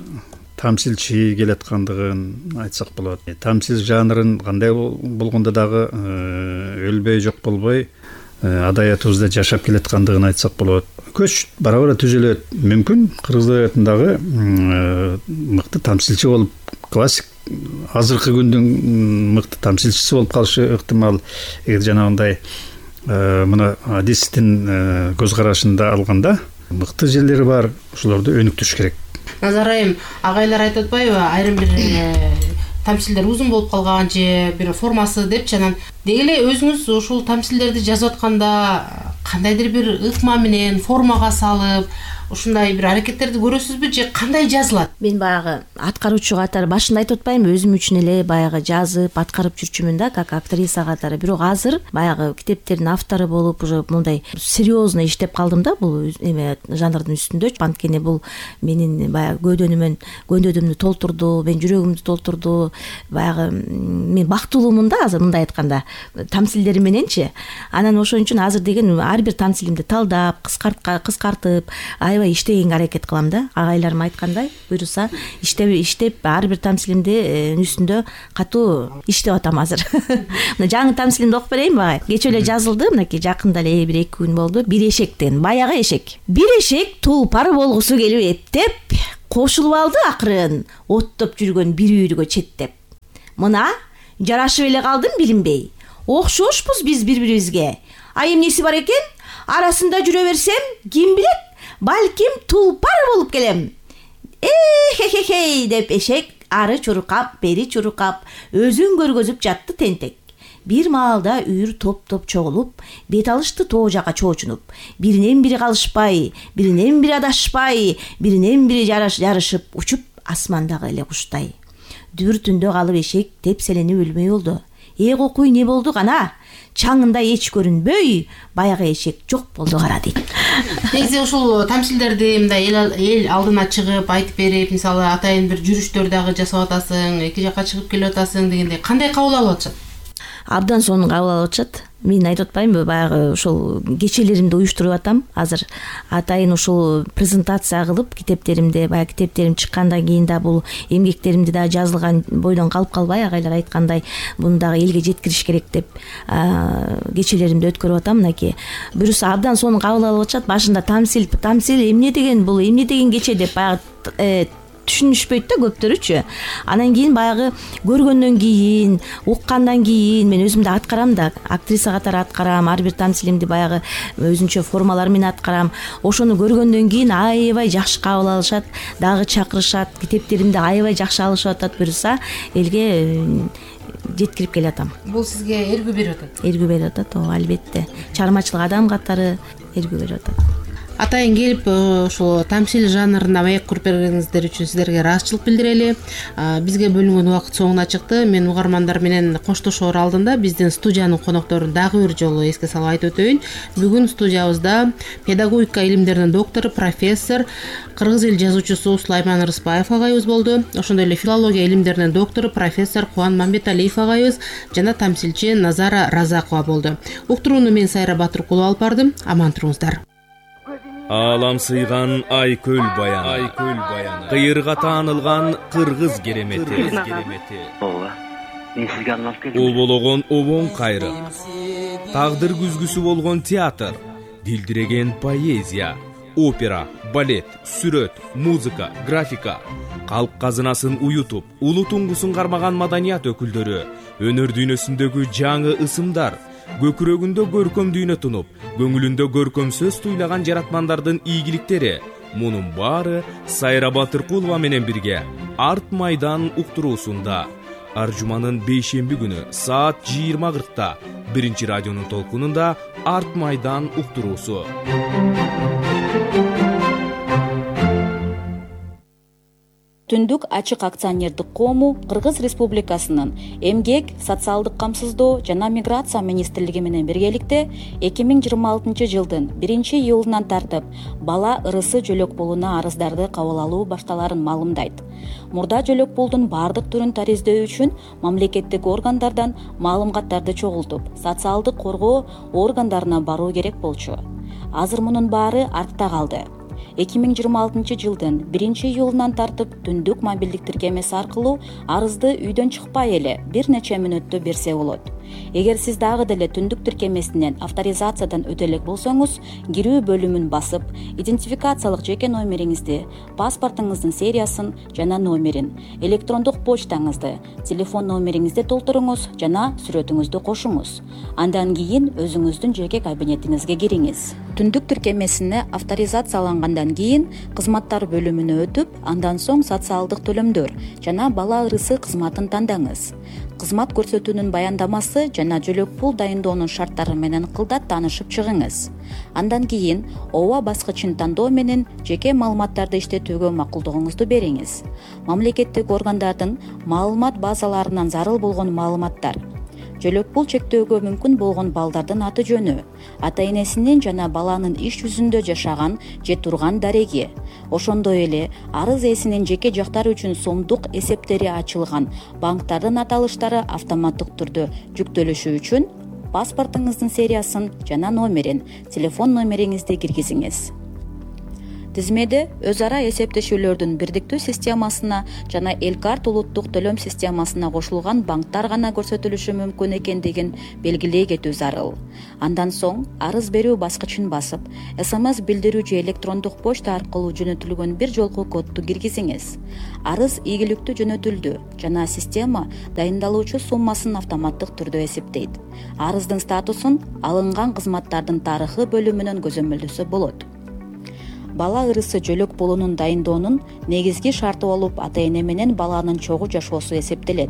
тамсилчи келаткандыгын айтсак болот. Тамсил жанрын кандай болгондо дагы өлбөй жок болбой адабиятыбызда жашап келаткандыгын айтсак болот. Көч бара-бара түзүлөт. Мүмкүн кыргыз адабиятындагы мыкты тамсилчи болуп, классик азыркы күндүн мыкты тамсилчиси болуп калышы ыктымал. Эгер жанагындай мына адистин көз карашында алганда мыкты жерлери бар, ошолорду өнүктүрүш керек. Назар айым, агайлар айтып атпайбы, айрым бир тамсилдер узун болуп калган же бир формасы депчи, анан деги эле өзүңүз ушул тамсилдерди жазып атканда кандайдыр бир ыкма менен формага салып ушундай бир аракеттерди көрөсүзбү же кандай жазылат? Мен баягы аткаруучу катары башында айтып атпаймынбы, өзүм үчүн эле баягы жазып, аткарып жүрчүмүн да, как актриса катары. Бирок азыр баягы китептердин автору болуп, уже мындай серьезно иштеп калдым да бул эме жанрдын үстүндө. Анткени бул менин баягы көдөдүмдү толтурду, мен жүрөгүмдү толтурду. Баягы мен бактылуумун да азыр мындай айтканда, тамсилдери мененчи. Анан ошон үчүн азыр деген ар бир тамсилимди талдап, кыскартып, аябай аябай иштегенге аракет кылам да. Агайларым айткандай, буюрса иштеп ар бир тамсилимдин үстүндө катуу иштеп атам азыр. Мына жаңы тамсилимди окуп берейинби багай? Кечээ эле жазылды, мынакей жакында эле бир 2 күн болду. Бир эшектен, баягы эшек. Бир эшек тулпар болгусу келип эптеп, кошулуп алды акырын оттоп жүргөн бир үйргө четтеп. Мына жарашып эле калдым билинбей. Окшошпуз биз бири-бирибизге. А эмнеси бар экен? Арасында жүрө берсем, ким билет, балким тулпар болуп келем. Хе деп эшек ары чуркап, бери чуркап, өзүн көргөзүп жатты тентек. Бир маалда үйүр топ-топ чогулуп, бет алышты тоо жака чоочунуп. Биринен бири калышпай, биринен бири адашпай, биринен бири жарышып учуп асмандагы эле куштай. Дүр түндө калып эшек тепселенип өлмөй болду. Кокуй эмне болду кана? Чаңында эч көрүнбөй, баягы эшек жок болду кара дейт. Негизи ушул тамсилдерди мындай эл алдына чыгып айтып берип, мисалы атайын бир жүрүштөр дагы жасап атасың, эки жакка чыгып келип атасың дегендей кандай кабыл алып атышат? Абдан сонун кабыл алып атышат. Мен айтып атпаймынбы, баягы ушул кечелеримди уюштуруп атам. Азыр атайын ушул презентация кылып, китептеримде, баягы китептерим чыккандан кийин да бул эмгектеримди да жазылган бойдон калып калбай, агайлар айткандай, буну дагы элге жеткириш керек деп кечелеримди өткөрүп атам. Мынакей буюрса абдан сонун кабыл алып атышат. Башында тамсил эмне деген, бул эмне деген кече деп баягы түшүнүшпөйт да көптөрүчү. Анан кийин баягы көргөндөн кийин, уккандан кийин мен өзүм да аткарам да, актриса катары аткарам, ар бир тамсилимди баягы өзүнчө формалар менен аткарам. Ошону көргөндөн кийин аябай жакшы кабыл алышат, дагы чакырышат, китептеримди аябай жакшы алышып атат, буюрса элге жеткирип келатам. Бул сизге эргүү берип атат? Эргүү берип атат, албетте. Чыгармачылык адам катары эргүү берип атат. Атайын келип ушул тамсил жанрына маек куруп бергениңиздер үчүн сиздерге ыраазычылык билдирели. Бизге бөлүнгөн убакыт соңуна чыкты. Мен угармандар менен коштошоор алдында биздин студиянын конокторун дагы бир жолу эске салып айтып өтөйүн. Бүгүн студиябызда педагогика илимдеринин доктору, профессор, кыргыз эл жазуучусу Сулайман Рыспаев агайыбыз болду. Ошондой эле филология илимдеринин доктору, профессор Кубан Мамбеталиев агайыбыз жана тамсилчи Назара Разакова болду. Уктурууну мен Сайра Батыркулова алып бардым. Аман туруңуздар. Алам сыйган айкөл баяны, кыйырга таанылган кыргыз керемети. Ооба, мен сизге арналып келдим. Обологон обоң кайры, тагдыр күзгүсү болгон театр, дилдиреген поэзия, опера, балет, сүрөт, музыка, графика, калк казынасын уютуп, улуу туңгусун кармаган маданият өкүлдөрү, өнөр дүйнөсүндөгү жаңы ысымдар, көкүрөгүндө көркөм дүйнө тунуп, көңүлүндө көркөм сөз туйлаган жаратмандардын ийгиликтери. Мунун баары Сайра Батыркулова менен бирге Арт майдан уктуруусунда ар жуманын 5-шемби күнү саат 20:40 биринчи радионун толкунунда Арт майдан уктуруусу. Түндүк ачык акционердик коому Кыргыз Республикасынын Эмгек, социалдык камсыздоо жана миграция министрлиги менен биргеликте 2026 жылдын 1-июлунан тартып бала ырысы жөлөк пулуна арыздарды кабыл алуу башталарын маалымдайт. Мурда жөлөк пулдун бардык түрүн тариздөө үчүн мамлекеттик органдардан маалыматтарды чогултуп, социалдык коргоо органдарына баруу керек болчу. Азыр мунун баары артта калды. 2026 жылдын 1-июлунан тартып түндүк мобилдик тиркемеси аркылуу арызды үйдөн чыкпай эле бир нече мүнөттө берсе болот. Эгер сиз дагы деле түндүк тиркемесинен авторизациядан өтө элек болсоңуз, кирүү бөлүмүн басып, идентификациялык жеке номериңизди, паспортуңуздун сериясын жана номерин, электрондук почтаңызды, телефон номериңизди толтуруңуз жана сүрөтүңүздү кошуңуз. Андан кийин өзүңүздүн жеке кабинетиңизге кириңиз. Түндүк тиркемесине авторизациялангандан кийин кызматтар бөлүмүнө өтүп, андан соң социалдык төлөмдөр жана бала ырысы кызматын тандаңыз. Кызмат көрсөтүүнүн баяндамасы жана жөлөк пул дайындоонун шарттары менен кылдат таанышып чыгыңыз. Андан кийин ооба баскычын тандоо менен жеке маалыматтарды иштетүүгө макулдугуңузду бериңиз. Мамлекеттик органдардын маалымат базаларынан зарыл болгон маалыматтар, жөлөк пул чектөөгө мүмкүн болгон балдардын аты жөнү, ата-энесинин жана баланын иш жүзүндө жашаган же турган дареги, ошондой эле арыз ээсинин жеке жактары үчүн сомдук эсептери ачылган банктардын аталыштары автоматтык түрдө жүктөлүшү үчүн паспортуңуздун сериясын жана номерин, телефон номериңизди киргизиңиз. Тизмеде өз ара эсептешүүлөрдүн бирдиктүү системасына жана Элкарт улуттук төлөм системасына кошулган банктар гана көрсөтүлүшү мүмкүн экендигин белгилей кетүү зарыл. Андан соң арыз берүү баскычын басып, СМС билдирүү же электрондук почта аркылуу жөнөтүлгөн бир жолку кодду киргизиңиз. Арыз ийгиликтүү жөнөтүлдү жана система дайындалуучу суммасын автоматтык түрдө эсептейт. Арыздын статусун алынган кызматтардын тарыхы бөлүмүнөн көзөмөлдөсө болот. Бала ырысы жөлөк пулунун дайындоонун негизги шарты болуп ата-эне менен баланын чогуу жашоосу эсептелет.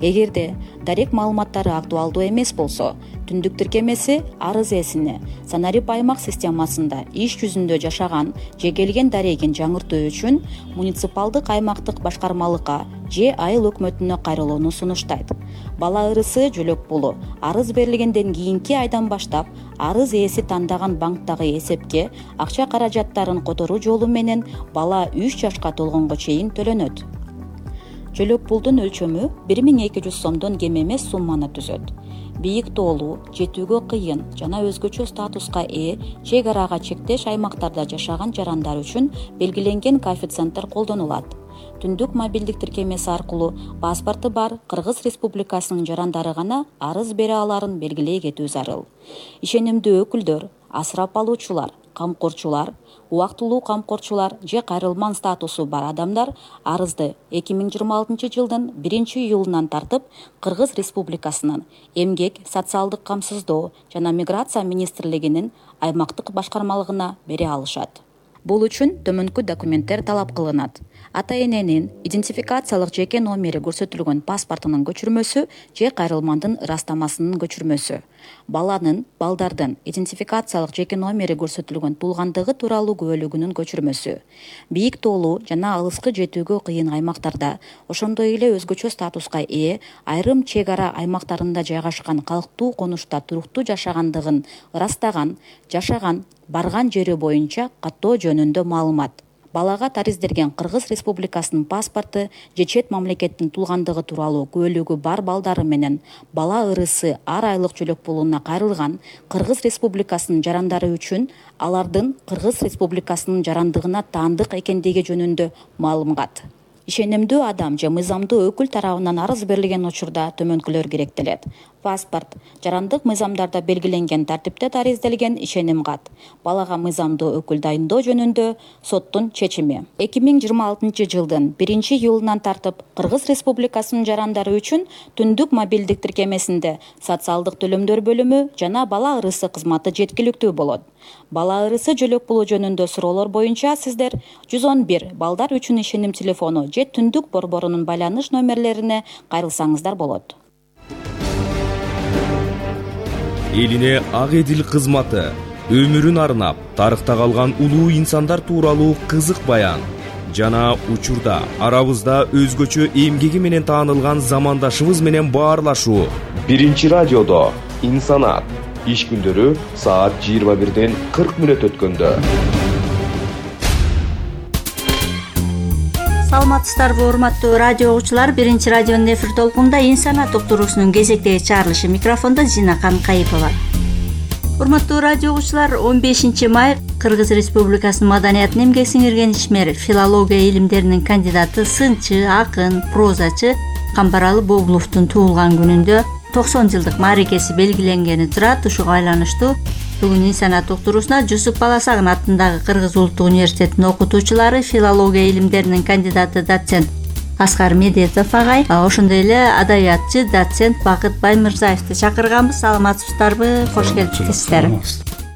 Эгерде дарек маалыматтары актуалдуу эмес болсо, түндүк тиркемеси арыз ээсине Санарип аймак системасында иш жүзүндө жашаган же келген дарегин жаңыртуу үчүн муниципалдык аймактык башкармалыкка же айыл өкмөтүнө кайрылууну сунуштайт. Бала ырысы жөлөк пулу арыз берилгенден кийинки айдан баштап арыз ээси тандаган банктагы эсепке акча каражаттарын которуу жолу менен бала 3 жашка толгонго чейин төлөнөт. Жөлөк пулдун өлчөмү 1200 сомдон кем эмес сумманы түзөт. Бийик тоолуу, жетүүгө кыйын жана өзгөчө статуска ээ чек арага чектеш аймактарда жашаган жарандар үчүн белгиленген коэффициенттер колдонулат. Түндүк мобилдик тиркемеси аркылуу паспорту бар Кыргыз Республикасынын жарандары гана арыз бере аларын белгилей кетүү зарыл. Ишенимдүү өкүлдөр, асырап алуучулар, камкорчулар, убактылуу камкорчулар же кайрылман статусу бар адамдар арызды 2026 жылдын 1-июлунан тартып Кыргыз Республикасынын Эмгек, социалдык камсыздоо жана миграция министрлигинин аймактык башкармалыгына бере алышат. Бул үчүн төмөнкү документтер талап кылынат. Ата-эненин идентификациялык жеке номери көрсөтүлгөн паспортунун көчүрмөсү же кайрылмандын ырастамасынын көчүрмөсү. Балдардын идентификациялык жеке номери көрсөтүлгөн туулгандыгы тууралуу күбөлүгүнүн көчүрмөсү. Бийик тоолуу жана алыскы жетүүгө кыйын аймактарда, ошондой эле өзгөчө статуска ээ айрым чек ара аймактарында жайгашкан калктуу конушта туруктуу жашагандыгын ырастаган, жашаган, барган жери боюнча каттоо жөнүндө маалымат. Балага таризделген Кыргыз Республикасынын паспорту же чет мамлекеттин туулгандыгы тууралуу күбөлүгү бар балдары менен бала ырысы ар айлык жөлөк пулуна кайрылган Кыргыз Республикасынын жарандары үчүн алардын Кыргыз Республикасынын жарандыгына таандык экендиги жөнүндө маалымат. Ишенимдүү адам же мыйзамдуу өкүл тарабынан арыз берилген учурда төмөнкүлөр керектелет. Паспорт, жарандык мыйзамдарда белгиленген тартипте таризделген ишеним кат. Балага мыйзамдуу өкүл дайындоо жөнүндө соттун чечими. 2026 жылдын 1-июлунан тартып Кыргыз Республикасынын жарандары үчүн түндүк мобилдик тиркемесинде социалдык төлөмдөр бөлүмү жана бала ырысы кызматы жеткиликтүү болот. Бала ырысы жөлөк пулу жөнүндө суроолор боюнча сиздер 111 балдар үчүн ишеним телефону же түндүк борборунун байланыш номерлерине кайрылсаңыздар болот. Элине ак эдил кызматы өмүрүн арнап тарыхта калган улуу инсандар тууралуу кызык баян жана учурда арабызда өзгөчө эмгеги менен таанылган замандашыбыз менен баарлашуу. Биринчи радиодо инсанат иш күндөрү саат 21:40 өткөндө. Саламатсыздарбы урматтуу радио угуучулар, Биринчи радионун эфир толкунунда инсанат уктуруусунун кезектеги чыгарылышы микрофондо Зина Канкаипова. Урматтуу радио угуучулар, 15 май Кыргыз Республикасынын маданиятын эмгек сиңирген ишмер, филология илимдеринин кандидаты, сынчы, акын, прозачы Камбаралы Бобуловдун туулган күнүндө 90 жылдык мааракеси белгиленгени турат. Ушуга байланыштуу бүгүн инсанат уктуруусуна Жусуп Баласагын атындагы Кыргыз улуттук университетинин окутуучулары, филология илимдеринин кандидаты, доцент Аскар Медетов агай, ошондой эле адабиятчы, доцент Бакыт Баймырзаевди чакырганбыз. Саламатсыздарбы? Кош келипсиздер.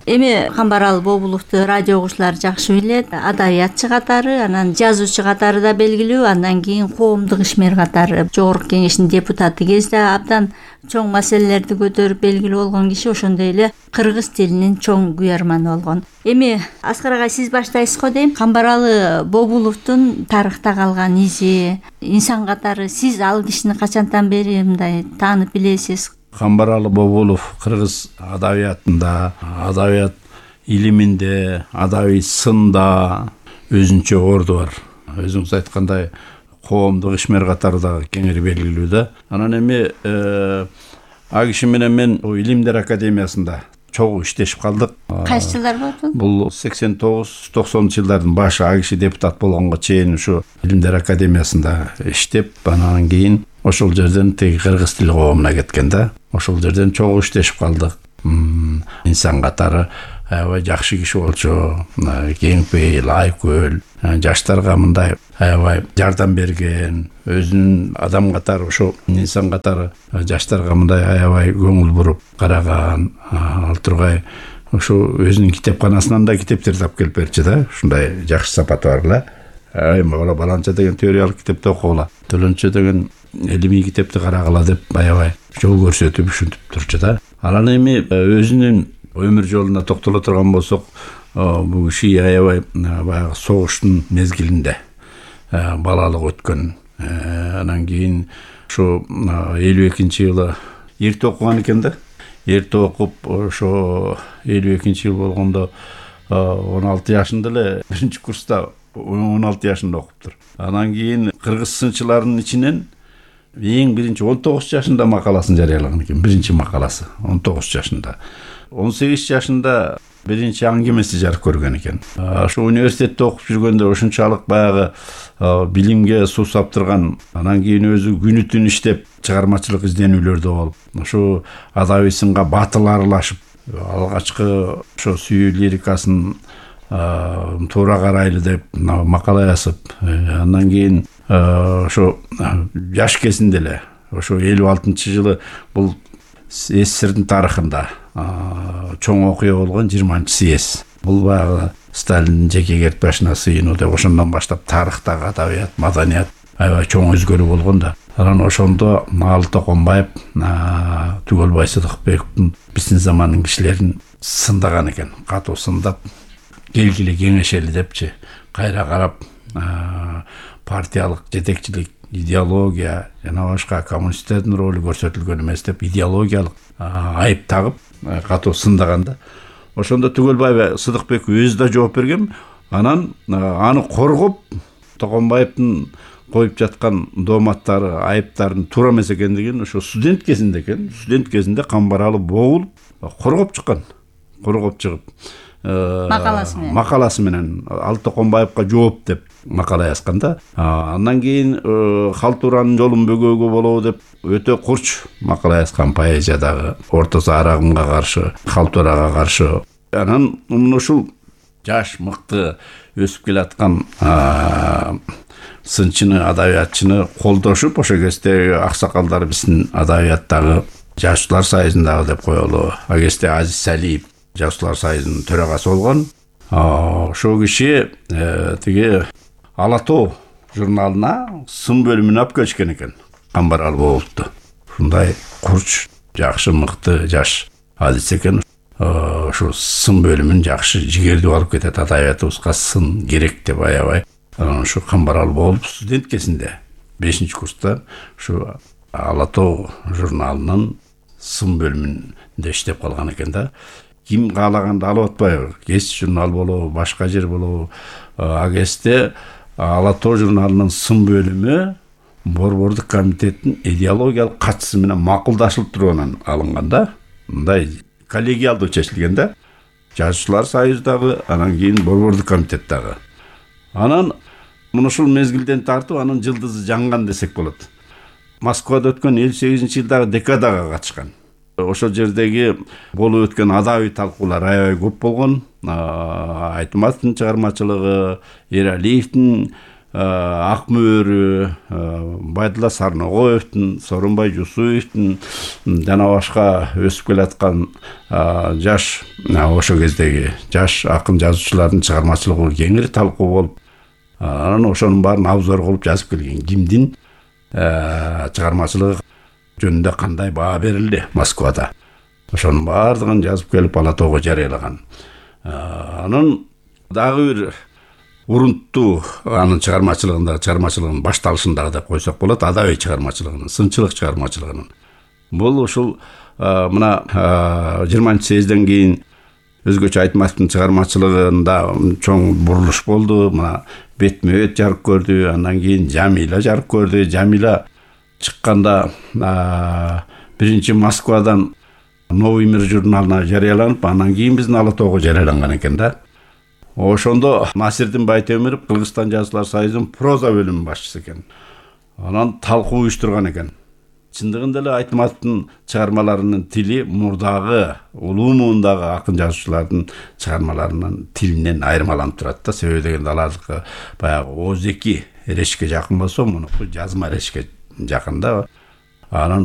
Эми Камбаралы Бобуловду радио угуучулар жакшы билет. Адабиятчы катары, анан жазуучу катары да белгилүү, андан кийин коомдук ишмер катары Жогорку Кеңештин депутаты кезде абдан чоң маселелерди көтөрүп белгилүү болгон киши, ошондой эле кыргыз тилинин чоң күйөрманы болгон. Эми Аскар агай, сиз баштайсыз го дейм. Камбаралы Бобуловдун тарыхта калган изи, инсан катары сиз ал кишини качантан бери мындай таанып билесиз? Камбаралы Бобулов кыргыз адабиятында, адабият илиминде, адабий сында өзүнчө орду бар. Өзүңүз айткандай коомдук ишмер катары да кеңири белгилүү да. Анан эми а киши менен мен Илимдер академиясында чогуу иштешип калдык. Кайсы жылдар болду? Бул 89-90 жылдардын башы. А киши депутат болгонго чейин ушу Илимдер академиясында иштеп, анан кийин ошол жерден теги кыргыз тили коомуна кеткен да. Ошол жерден чогуу иштешип калдык. Инсан катары аябай жакшы киши болчу, кеңпейил, айкөл, жаштарга мындай аябай жардам берген, өзүнүн адам катары, ошо инсан катары жаштарга мындай аябай көңүл буруп караган. Ал тургай ошо өзүнүн китепканасынан да китептерди алып келип берчү да. Ушундай жакшы сапаты бар эле. Мага баланча деген теориялык китепти окугула, төлөнчө деген илимий китепти карагыла деп аябай жол көрсөтүп ушинтип турчу да. Анан эми өзүнүн өмүр жолуна токтоло турган болсок, бул киши аябай баягы согуштун мезгилинде балалык өткөн. Анан кийин ошо 52-жылы эрте окуган экен да. Эрте окуп, ошо 52-жыл болгондо 16 жашында эле, биринчи курста 16 жашында окуптур. Анан кийин кыргыз сынчыларынын ичинен эң биринчи 19 жашында макаласын жарыялаган экен. Биринчи макаласы 19 жашында. 18 жашында биринчи аңгемеси жарык көргөн экен. Ошо университетте окуп жүргөндө ошончалык баягы билимге суу саптырган. Анан кийин өзү күнү түн иштеп, чыгармачылык изденүүлөрдө болуп, ошо адабий сынга батыл аралашып, алгачкы ошо сүйүү лирикасын туура карайлы деп макала жазып, андан кийин ошо жаш кезинде эле, ошо 56-жылы бул СССРдин тарыхында чоң окуя болгон 20-съезд. Бул баягы Сталиндин жеке кертпешине сыйынуу деп ошондон баштап тарыхтагы адабият, маданият аябай чоң өзгөрүү болгон да. Анан ошондо Алы Токонбаев, Түгөлбай Сыдыкбековдун биздин замандын кишилерин сындаган экен. Катуу сындап, келгиле кеңешели депчи, кайра карап партиялык жетекчилик, идеология жана башка коммунисттердин ролу көрсөтүлгөн эмес деп идеологиялык айып тагып катуу сындаганда, ошондо Түгөлбаев Сыдыкбеков өзү да жооп берген. Анан аны коргоп, Токонбаевдин коюп жаткан дооматтары, айыптарын туура эмес экендигин ошо студент кезинде экен. Студент кезинде Камбаралы богулуп коргоп чыккан. Коргоп чыгып макаласы менен Алы Токонбаевга жооп деп макала жазган да. Андан кийин Халтуранын жолун бөгөөгө болобу деп өтө курч макала жазган поэзиядагы Орто Заар агымга каршы, Халтурага каршы. Анан ушул жаш мыкты өсүп келаткан сынчыны, адабиятчыны колдошуп, ошо кезде аксакалдар биздин адабияттагы Жазуучулар союзундагы деп коелу. А кезде Азиз Салиев Жазуучулар союзунун төрагасы болгон. Ошол киши тиги Ала тоо журналына сын бөлүмүнө алып келишкен экен. Камбаралы болупту. Ушундай курч, жакшы, мыкты жаш адис экен. Ошо сын бөлүмүн жакшы жигердүү алып кетет. Адабиятыбызга сын керек деп аябай. Ошо Камбаралы болуп студент кезинде 5-курста ушу Ала тоо журналынын сын бөлүмүндө иштеп калган экен да. Ким каалаганды алып атпайбы? Кес журнал болобу, башка жер болобу? А кезде Ала тоо журналынын сын бөлүмү Борбордук комитеттин идеологиялык катчысы менен макулдашылып тургандан алынган да. Мындай коллегиалдуу чечилген да. Жазуучулар союзундагы, анан кийин Борбордук комитеттагы. Анан ушул мезгилден тартып анын жылдызы жанган десек болот. Москвада өткөн 58-жылдагы декадага катышкан. Ошол жердеги болуп өткөн адабий талкуулар аябай көп болгон. Айтматовдун чыгармачылыгы, Эралиевдин Ак мөөрү, Байдулла Сарногоевдун, Сооронбай Жусуевдин жана башка өсүп келаткан жаш ошол кездеги жаш акын жазуучулардын чыгармачылыгы кеңири талкуу болуп, анан ошонун баарын обзор кылып жазып келген. Кимдин чыгармачылыгы жөнүндө кандай баа берилди Москвада. Ошонун баардыгын жазып келип Ала тоого жарыялаган. Анын дагы бир урунттуу анын чыгармачылыгынын башталышындагы деп койсок болот, адабий чыгармачылыгынын, сынчылык чыгармачылыгынын. Бул ушул мына 20-съезден кийин өзгөчө Айтматовдун чыгармачылыгында чоң бурулуш болду. Мына бетме-бет жарык көрдү, андан кийин Жамила жарык көрдү. Жамила чыкканда биринчи Москвадан Новый мир журналына жарыяланып, анан кийин биздин Ала тоого жарыяланган экен да. Ошондо Насирдин Байтемиров Кыргызстан жазуулар союзунун проза бөлүмүнүн башчысы экен. Анан талкуу уюштурган экен. Чындыгында эле Айтматовдун чыгармаларынын тили мурдагы улуу муундагы акын жазуучулардын чыгармаларынын тилинен айырмаланып турат да. Себеби дегенде алардыкы баягы оозеки эрешке жакын болсо, мунуку жазма эрешке жакын да. Анан